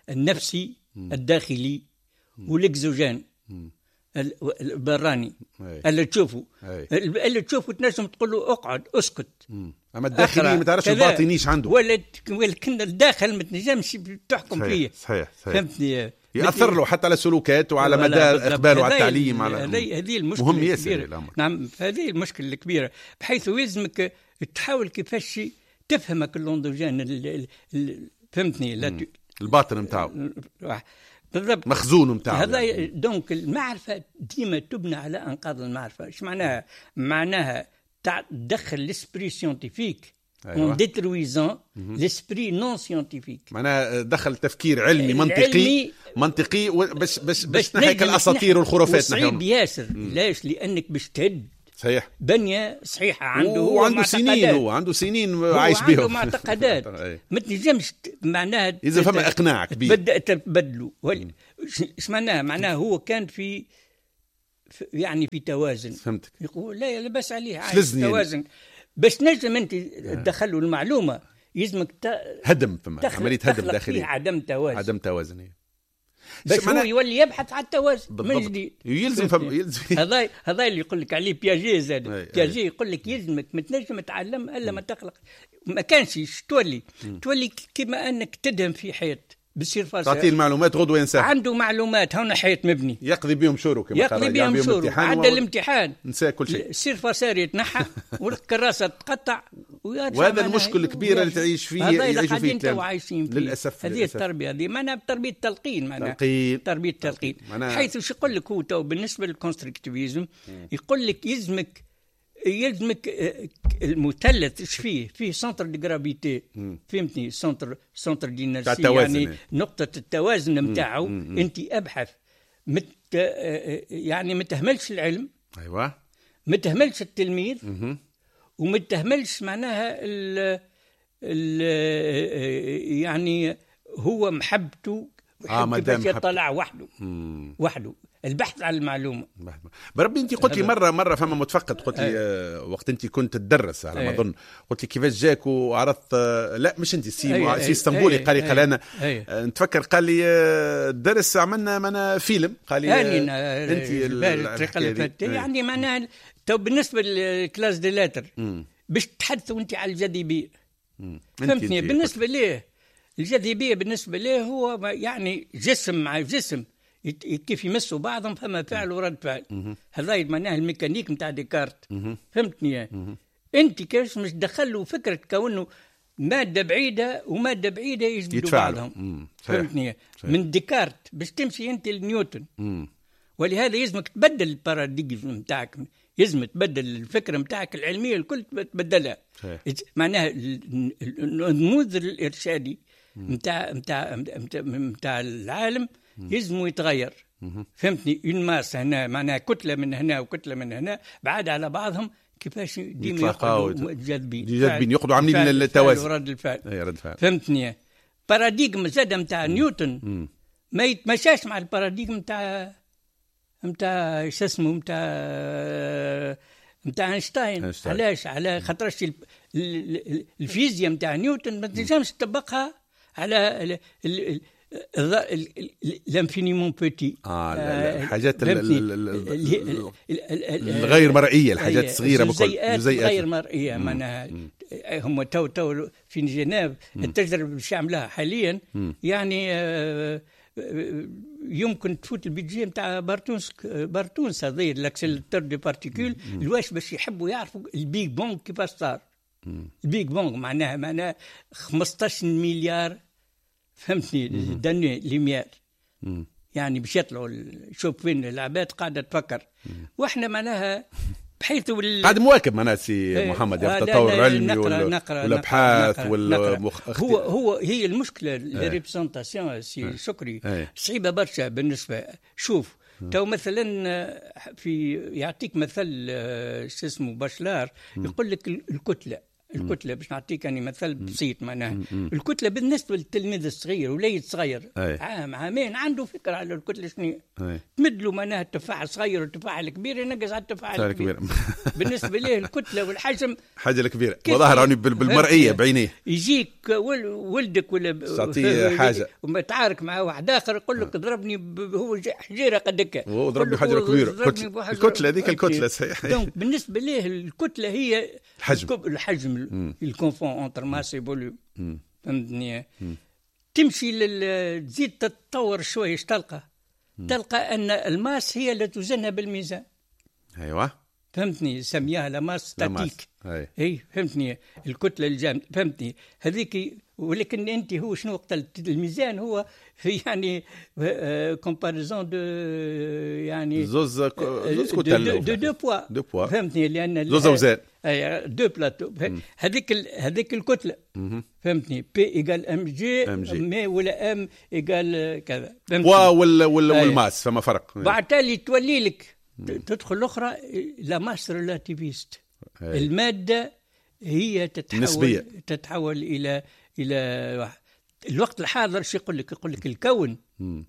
النفسي الداخلي وال exogène البراني اللي تشوفه، اللي تشوفه تنجم تقول له اقعد اسكت،
مم. اما الداخلي ما تعرفش الباطنيش عنده،
ولكن الداخل ما تنجمش تحكم
صحيح.
فيه.
صحيح صحيح،
فهمتني؟
يأثر له حتى على سلوكاته وعلى مدى اقباله على التعليم، على
هذه المشكلة
مهم ياسر الامر.
نعم، هذه المشكلة الكبيرة، بحيث يلزمك تحاول كيفاش تفهمك l'endogène، فهمتني؟ لا
الباطن نتاعو
بالضبط،
مخزون نتاعو
هذا يعني. donc المعرفة ديما تبنى على انقاض المعرفة. ايش معناها؟ معناها تدخل l'esprit scientifique en détruisant l'esprit non scientifique.
معناها دخل تفكير علمي منطقي منطقي باش باش باش تنحيك الاساطير والخرافات.
صعيب ياسر. ليش؟ لانك باش تهد
صحيح
بنية صحيحة عنده،
هو عنده سنين، هو عنده سنين عايش بهم،
عنده معتقدات ما تنجمش معناها
إذا فما إقناع كبير
تبدأ تبدله. إيش معناها؟ معناها هو كان في يعني في توازن.
فهمتك.
يقول لا لاباس عليه عايش توازن، باش نجم أنت تدخله المعلومة يلزمك ت...
هدم، فما عملية هدم داخلية،
عدم توازن،
عدم توازن
باش هو يولي يبحث على التوازن من جديد.
يلزم فم يلزم
هذا هذا اللي يقول لك عليه بياجي زاد. بياجي يقول لك يلزمك ما تنجم تتعلم الا ما تخلق. ما كانش تولي م. تولي كما انك تدهم في حيط بال surface،
تعطيه المعلومات غدوه ينساها.
عنده معلومات، هنا حيط مبني
يقضي بهم شورو، كما
يقضي بهم شورو، عدى الامتحان
نسى كل شيء،
ال surface يتنحى والكراسه تقطع.
وهذا المشكل الكبير اللي تعيش فيه، يعيشوا فيه
عايشين فيه
للاسف.
هذه التربية هذه معناها تربيه التلقين، معناها تربيه التلقين. حيث شو يقول لك هو تو بالنسبة لل constructivisme؟ يقول لك يلزمك يلزمك المثلث ايش فيه؟ فيه centre de gravité، فهمتني؟ centre centre d'inertie، يعني نقطة التوازن نتاعو. انت ابحث مت يعني ما تهملش العلم،
ايوه،
ما تهملش التلميذ، وما تهملش معناها ال ال يعني هو محبته
اه ما دام
يطلع وحده مم. وحده البحث عن المعلومة.
بربي انت قلت لي مرة مرة فما متفقد قلت لي آه وقت انت كنت تدرس على ما اظن، قلت لي كيفاش جاك وعرضت آه لا مش انت سي سي اسطنبولي قال لي قال انا آه نتفكر قال لي آه الدرس عملنا معنا فيلم قال لي
آه انت الطريقة اللي يعني معناها تو بالنسبة لل classe des lettres باش تحدثوا انت على الجاذبية. فهمتني؟ بالنسبة ليه الجاذبية بالنسبة ليه هو يعني جسم مع جسم كيف يمسوا بعضهم فما فعل ورد فعل. هذا معناه الميكانيك نتاع ديكارت. فهمتني؟ انت كيفاش مش دخلوا فكرة كونه مادة بعيدة ومادة بعيدة يجبدوا بعضهم. فهمتني؟ من ديكارت باش تمشي انت لنيوتن. مم. ولهذا يلزمك تبدل ال paradigme نتاعك، يلزم تبدل الفكرة نتاعك العلمية الكل تبدلها. معناها النموذج الارشادي نتاع نتاع نتاع العالم يلزم يتغير. فهمتني؟ une masse هنا معناها كتلة من هنا وكتله من هنا بعاد على بعضهم، كيفاش ديما يقعدوا جاذبين
جاذبين يقعدوا عاملين التوازن
رد الفعل. اي رد الفعل. فهمتني؟ paradigme زاد نتاع نيوتن مم. ما يتمشاش مع ال paradigme نتاع نتاع شو اسمه نتاع نتاع اينشتاين. علاش؟ على خاطرش الفيزياء نتاع نيوتن ما تنجمش تطبقها على l'infiniment petit.
اه الحاجات الغير مرئية، الحاجات الصغيرة
بكل، الجزيئات غير مرئية. معناها هم تو تو في جنيف التجربة اللي عملها حاليا يعني يمكن تفوت ال budget نتاع بارتونس بارتونس هذا l'accélérateur de particules. الواش باش يحبوا يعرفوا ال Big Bang كيفاش صار. ال Big Bang معناها معناها خمسطاش مليار، فهمتني، d'années-lumière. يعني باش يطلعوا شوف وين العباد قاعدة تفكر. واحنا معناها بحيث وال...
قاعد مواكب معناها سي محمد يا التطور العلمي والابحاث والمخ...
هو هو هي المشكلة les représentations سي شكري صعيبة برشا بالنسبة. شوف تو مثلا في يعطيك مثل شو اسمه باشلار يقول لك الكتلة الكتلة باش نعطيك يعني مثل بسيط معناها الكتلة بالنسبة للتلميذ الصغير وليد صغير عام عامين عنده فكرة على الكتلة شنو، تمد له معناها التفاح الصغير والتفاح الكبير ينقز على التفاح الكبير. بالنسبة ليه الكتلة والحجم
حاجة الكبيرة وظهر يعني بالمرئيه بعينيه.
يجيك ولدك ولا
تعطيه حاجة
ومتعارك مع واحد اخر يقول لك ضربني هو حجيره قد هكا،
وضربني حجره كبيرة. الكتلة هذيك الكتلة صحيح.
donc بالنسبة ليه الكتلة هي
الحجم
الحجم ال confond entre masse volume. فهمتني؟ تمشي لل... تزيد تتطور شوية تلقى تلقى ان ال masse هي اللي توزنها بالميزان.
ايوه
فهمتني، سميها la masse statique. اي فهمتني، الكتلة الجامدة. فهمتني هذيك. ولكن انت هو شنو وقت الميزان هو يعني comparaison de يعني
زوز زوز كتل
de deux poids
deux poids.
فهمتني، لان
زوز اوزان
اي deux plateaux. هذيك هذيك الكتلة. فهمتني، P égale mg m ولا m égale كذا.
poids ولا وال masse فما فرق.
بعد تالي تولي لك تدخل الاخرى la masse relativiste. المادة هي تتحول
نسبية.
تتحول الى الى الوقت الحاضر. شو يقول لك؟ يقول لك الكون.
مم.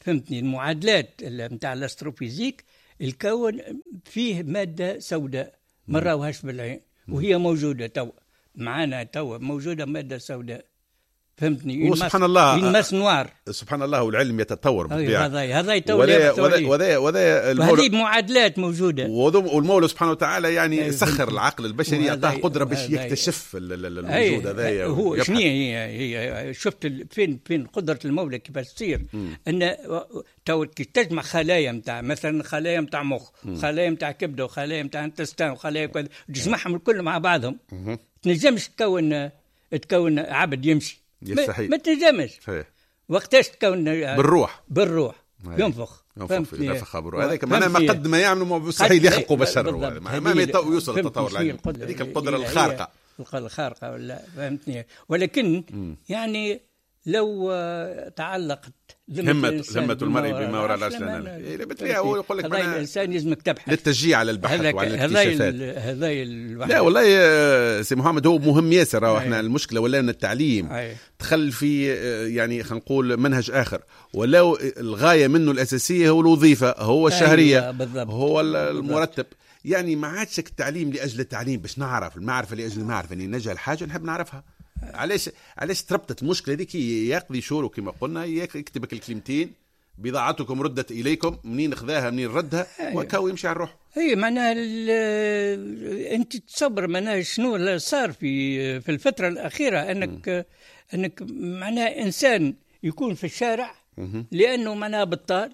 فهمتني، المعادلات نتاع ال astrophysique، الكون فيه مادة سوداء ما راوهاش بالعين وهي موجودة تو معانا، تو موجودة مادة سوداء. فهمتني،
سبحان الله،
masse noire.
سبحان الله، والعلم يتطور بالطبيعة.
هذا هذا يتطور
وذا وذا وذا
هذه معادلات موجودة،
والمولى سبحانه وتعالى يعني سخر العقل البشري، اعطاه قدره باش يكتشف الموجود هذايا.
هو شنو هي هي شفت فين فين قدره المولى كيفاش تصير، ان تو كي تجمع خلايا نتاع مثلا خلايا نتاع مخ، خلايا نتاع كبده، وخلايا نتاع intestin، وخلايا كذا، تجمعهم الكل مع بعضهم تنجمش تكون تكون عبد يمشي. ما, ما تنجمش. وقتاش تكون
بالروح
بالروح ينفخ
ينفخ ينفخ بالروح. هذاك معناها ما قد ما يعملوا مستحيل يخلقوا بشر، ما ما يوصل التطور العلمي هذيك القدرة الخارقة
الخارقة ولا. فهمتني؟ ولكن م. يعني لو تعلقت
همة همة المرء بما وراء العرش. بالطبيعة هو يقول لك
هذا الإنسان لازمك تبحث
للتشجيع على البحث وعلى الاكتشافات.
هذا
لا والله سي محمد هو مهم ياسر. احنا المشكلة ولا ان التعليم أي. دخل في يعني خلينا نقول منهج آخر، ولو الغاية منه الأساسية هو الوظيفة، هو الشهرية، أيوة هو المرتب. يعني ما عادش التعليم لأجل التعليم باش نعرف المعرفة لأجل المعرفة، يعني نجهل حاجة نحب نعرفها. علاش علاش تربطت المشكلة هذيك؟ يقضي شوره كما قلنا، يكتبك الكلمتين بضاعتكم ردت اليكم، منين خذاها منين ردها. أيوة. وكاو يمشي على الروح.
اي معناها انت تصبر معناها شنو صار في في الفترة الاخيرة، انك م. انك معناها انسان يكون في الشارع م. لانه معناها بطال،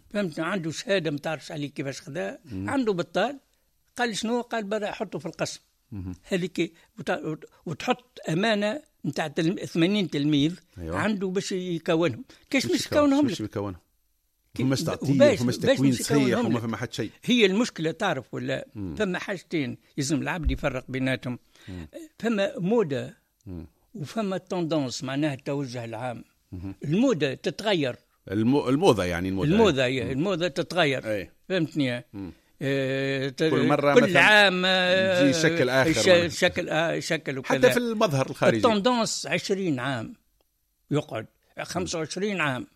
فهمت، عنده شهادة ما تعرفش عليه كيفاش خذاها، عنده بطال، قال شنو؟ قال برا حطه في القسم هذيك، وتحط امانه نتاع ثمانين تلميذ. أيوة. عنده باش يكونهم، كيش مش يكونهم
لك؟ مش يكونهم، فماش تعطيه، فماش تكوين صحيح، وما فما حتى شيء.
هي المشكلة تعرف ولا؟ مم. فما حاجتين لازم العبد يفرق بيناتهم. مم. فما موضة وفما tendance، معناها التوجه العام. مم. الموضة تتغير،
المو... الموضة يعني الموضة
الموضة هي الموضة تتغير. أي. فهمتني؟ إيه كل مرة كل عام
يجي شكل آخر،
شكل آه شكل وكذا،
حتى في المظهر الخارجي.
ال tendance عشرين عام يقعد خمسة وعشرين عام.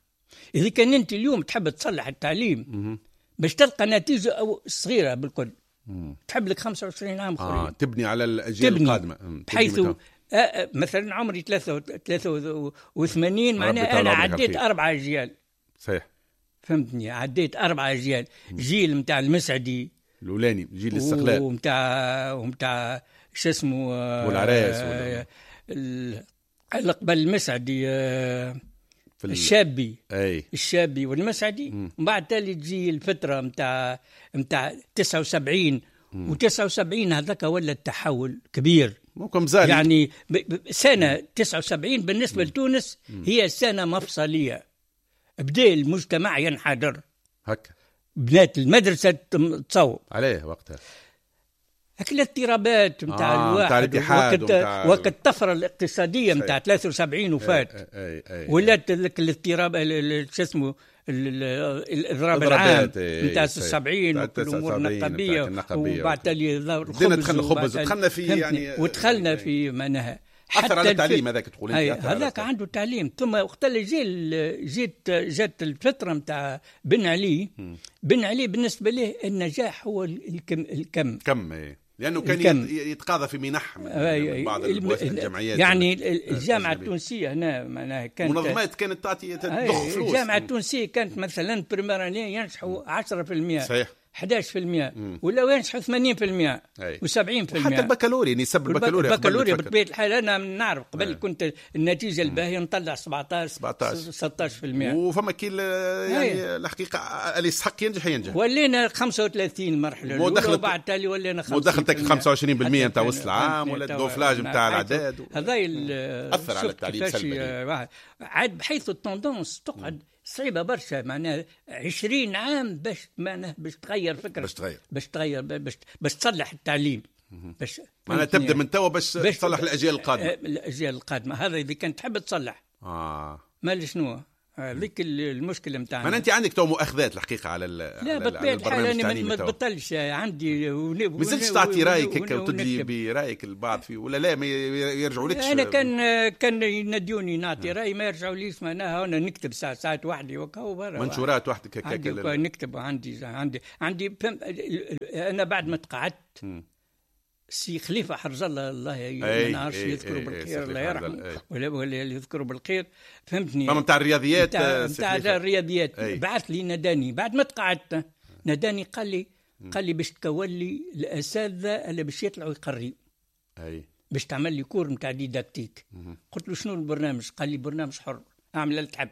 إذا كان أنت اليوم تحب تصلح التعليم باش تلقى نتيجة أو صغيرة بالكل، مم. تحب لك خمسة وعشرين عام آخرين.
آه تبني على الأجيال القادمة،
بحيث آه مثلا عمري ثلاثة وثمانين، معناها أنا عديت أربعة أجيال.
صحيح،
فهمتني، عديت أربعة أجيال. جيل متاع المسعدي
الأولاني، جيل الاستقلال،
ومتاع ومتاع شو اسمه
والعراس، آه
اللي قبل المسعدي آه الشابي. أي. الشابي والمسعدي. ومن بعد تالي تجي الفترة متاع متاع تسعة وسبعين، وتسعة وسبعين هذاك ولا التحول كبير
ممكن زال.
يعني سنة تسعة وسبعين بالنسبة مم. لتونس هي سنة مفصلية، بدأ المجتمع ينحدر
هكا،
بنات المدرسة تصوب
عليه وقتها،
هكا الاضطرابات نتاع آه الواحد، وقت ومتاع... وقت الطفرة الاقتصادية نتاع ثلاثة وسبعين وفات، ولات الاضطراب شو اسمه الاضراب العام نتاع سبعين والامور النقابيه، وبعد تالي
الخبز، دخلنا الخبز ودخلنا في يعني
ودخلنا في معناها
اثر على التعليم هذاك، تقول
انت هذاك عنده تعليم. ثم وقت اللي جي جيت جات الفترة نتاع بن علي. بن علي بالنسبة له النجاح هو الكم، الكم
كم إيه. لانه كان الكم. يتقاضى في منح من, من بعض الجمعيات،
يعني الجامعة التونسية هنا معناها كانت
منظمات كانت تعطي تضخ فلوس.
الجامعة التونسية كانت مثلا première année ينجحوا عشرة بالمئة،
صحيح،
أحد عشر بالمئة، ولا ينجحوا ثمانين بالمئة وسبعين بالمئة.
حتى البكالوريا، نسب البكالوريا
البكالوريا بطبيعة الحال أنا نعرف قبل أي. كنت النتيجة الباهية نطلع سبعة عشر ستة عشر بالمئة،
وفما كي يعني الحقيقة اللي يستحق ينجح ينجح.
ولينا خمسة وثلاثين مرحلة الأولى، وبعد تالي ولينا خمسين.
ودخلتك خمسة وعشرين بالمئة نتاع وسط العام ولا ال déflage نتاع الأعداد،
هذا
أثر على التعليم سلبا.
عاد بحيث ال tendance تقعد صعيبة برشا، معناها عشرين عام باش معناها باش تغير فكرة،
باش تغير
باش تغير باش باش تصلح التعليم، باش
معناها تبدا من توا باش تصلح الاجيال القادمة.
الاجيال القادمة هذا اذا كانت تحب تصلح.
اه
مال شنو هذيك المشكلة نتاعنا.
معناها انت عندك تو مؤاخذات الحقيقة على
لا بطبيعة الحال انا ما تبطلش عندي،
ما زلتش تعطي رايك هكا وتدلي برايك البعض فيه ولا لا ما يرجعوا لكش؟
انا كان كان ينادوني نعطي راي ما يرجعوا ليش، معناها انا نكتب ساعات ساعات وحدي وكهو برا
منشورات وحدك
هكا نكتب. عندي عندي عندي انا بعد ما تقعدت سي خليفة حرز الله، الله ما نعرفش يذكره بالخير، الله يرحمه ولا ولا يذكره بالخير، فهمتني.
فما نتاع الرياضيات،
نتاع الرياضيات بعث لي ناداني بعد ما تقعدت، ناداني قال لي قال لي باش تكون لي الاساتذة اللي باش يطلعوا يقريوا،
اي
باش تعمل لي cours نتاع didactique. قلت له شنو البرنامج؟ قال لي برنامج حر، اعمل اللي تحب،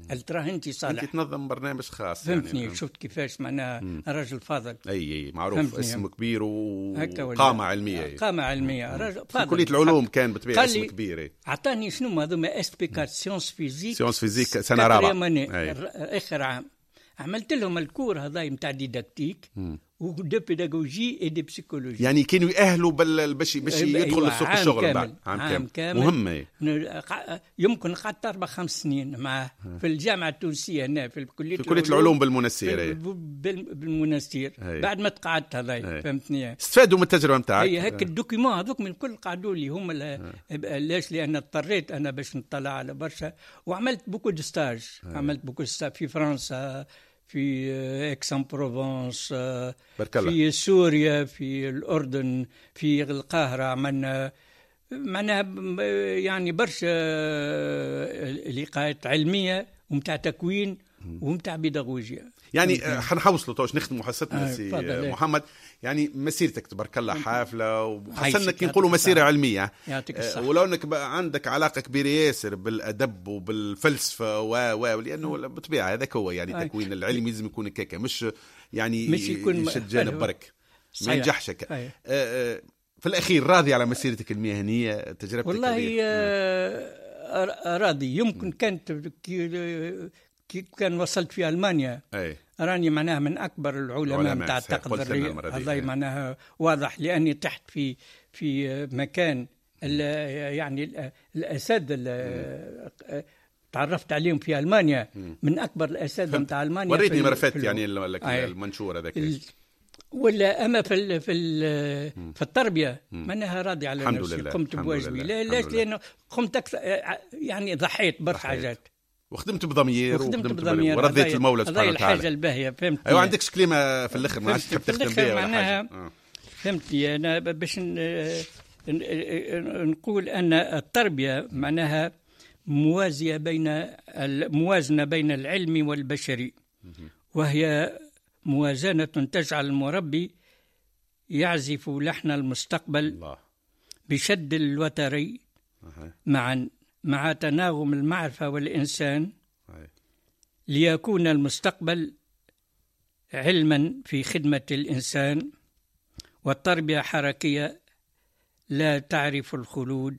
قال تراه انت صالح،
انت تنظم برنامج خاص.
فهمتني يعني. شفت كيفاش معناها الرجل فاضل،
اي اي معروف، اسم كبير وقامه علمية،
قامه علمية، رجل
فاضل في كليه العلوم كان بالطبيعة اسم كبير.
اعطاني شنو هذوما SP quatre sciences physiques،
sciences physiques سنة رابعه
اخر عام، عملت لهم ال cours هذا نتاع didactique و de pédagogie et de psychologie،
يعني كانوا يأهلوا بال باش باش يدخل لسوق الشغل بعد
عام كامل, عام كامل.
مهمة.
يمكن قعدت اربع خمس سنين معه في الجامعة التونسية هنا في كليه
في كليه العلوم بالمنستير،
بالمنستير بعد ما تقعدت هذا، فهمتني.
استفادوا من التجربة نتاعك.
هي هيك ال documents هذوك من كل قعدوا لي هم. علاش؟ لان اضطريت انا باش نطلع على برشا، وعملت beaucoup de stages، عملت beaucoup de stages في فرنسا، في اكسان بروفونس، في سوريا، في الأردن، في القاهرة، عملنا معناها يعني برشا لقاءات علمية ومتاع تكوين ومتاع بيداغوجيا.
يعني حنحوصلوا تو باش نختموا حصتنا سي محمد، يعني مسيرتك تبارك الله حافلة، وخاصة كي نقولوا مسيره علمية،
يعطيك الصحة،
ولو انك عندك علاقة كبيرة ياسر بالادب وبالفلسفه و و لانه بالطبيعة هذاك هو يعني التكوين العلمي لازم يكون كاكا، مش يعني مش يكون يشد جانب برك ما ينجحش هكا. في الاخير راضي على مسيرتك المهنية، تجربتك؟
والله آه راضي. يمكن كانت كي كان وصلت في ألمانيا
أي.
راني معناها من أكبر العلماء نتاع التقدير، هذا معناها واضح، لأني تحت في في مكان يعني الأساتذة تعرفت عليهم في ألمانيا، من أكبر الأساتذة نتاع ألمانيا.
وريتني مرفت يعني المنشور هذاك
ولا. أما في في في التربية معناها راضي على نفسي، قمت بواجبي. لا لا لأنه قمت أكثر يعني ضحيت برشا حاجات،
وخدمت بضمير وخدمت بضمير ورضيت المولى سبحانه وتعالى.
الحاجة الباهيه فهمت.
ايوه عندكش كلمة في الاخر ما عادش تحب تختم بها ولا حاجة؟ آه.
فهمتني. انا باش نقول ان التربية معناها موازية بين الموازنة بين العلم والبشري، وهي موازنه تجعل المربي يعزف لحن المستقبل
الله.
بشد الوتري معا مع تناغم المعرفة والإنسان، ليكون المستقبل علما في خدمة الإنسان، والتربية حركية لا تعرف الخلود،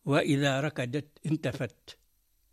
وإذا ركدت انتفت.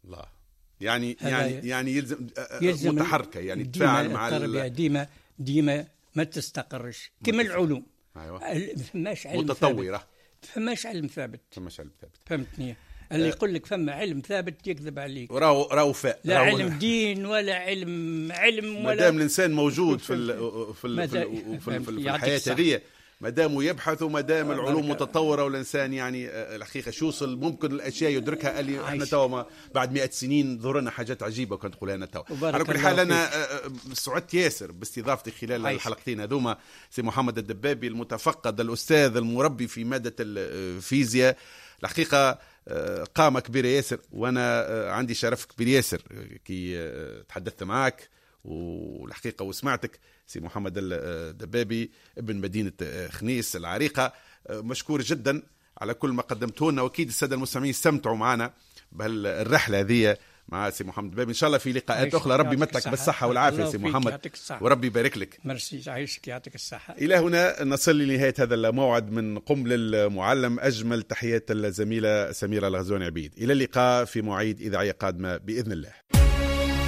الله. يعني يعني يعني يلزم, يلزم متحركة، يعني تفاعل مع
التربية ديما ديما ما تستقرش كما العلوم.
أيوة.
فماش علم
متطورة،
فماش علم ثابت،
فماش علم ثابت.
فهمتني. اللي يقول لك فما علم ثابت يكذب عليك.
راهو راهو فاء
لا علم دين ولا علم علم ولا،
ما دام الانسان موجود في ال في ال في, في, في الحياة هذه، ما دام يبحث وما دام العلوم متطورة والانسان يعني الحقيقة شو وصل ممكن الاشياء يدركها اللي احنا توا بعد مئة سنين ظهرنا حاجات عجيبة كنت تقولها لنا توا. على كل حال انا سعدت ياسر باستضافتي خلال عايش. الحلقتين هذوما سي محمد الدبابي المتفقد الاستاذ المربي في مادة الفيزياء، الحقيقة قامة كبيرة ياسر، وأنا عندي شرف كبير ياسر كي تحدثت معك والحقيقة وسمعتك سي محمد الدبابي ابن مدينة خنيس العريقة. مشكور جدا على كل ما قدمته لنا، وأكيد السادة المستمعين استمتعوا معنا بهالرحلة هذه مع سي محمد الدبابي. إن شاء الله في لقاءات أخرى. ربي يمتعك بالصحة والعافية سي محمد، وربي يبارك لك.
ميرسي، عايشك، يعطيك الصحة.
إلى هنا نصل لنهاية هذا الموعد من قم للمعلم. أجمل تحيات الزميلة سميرة الغزواني عبيد. إلى اللقاء في مواعيد إذاعية قادمة بإذن الله.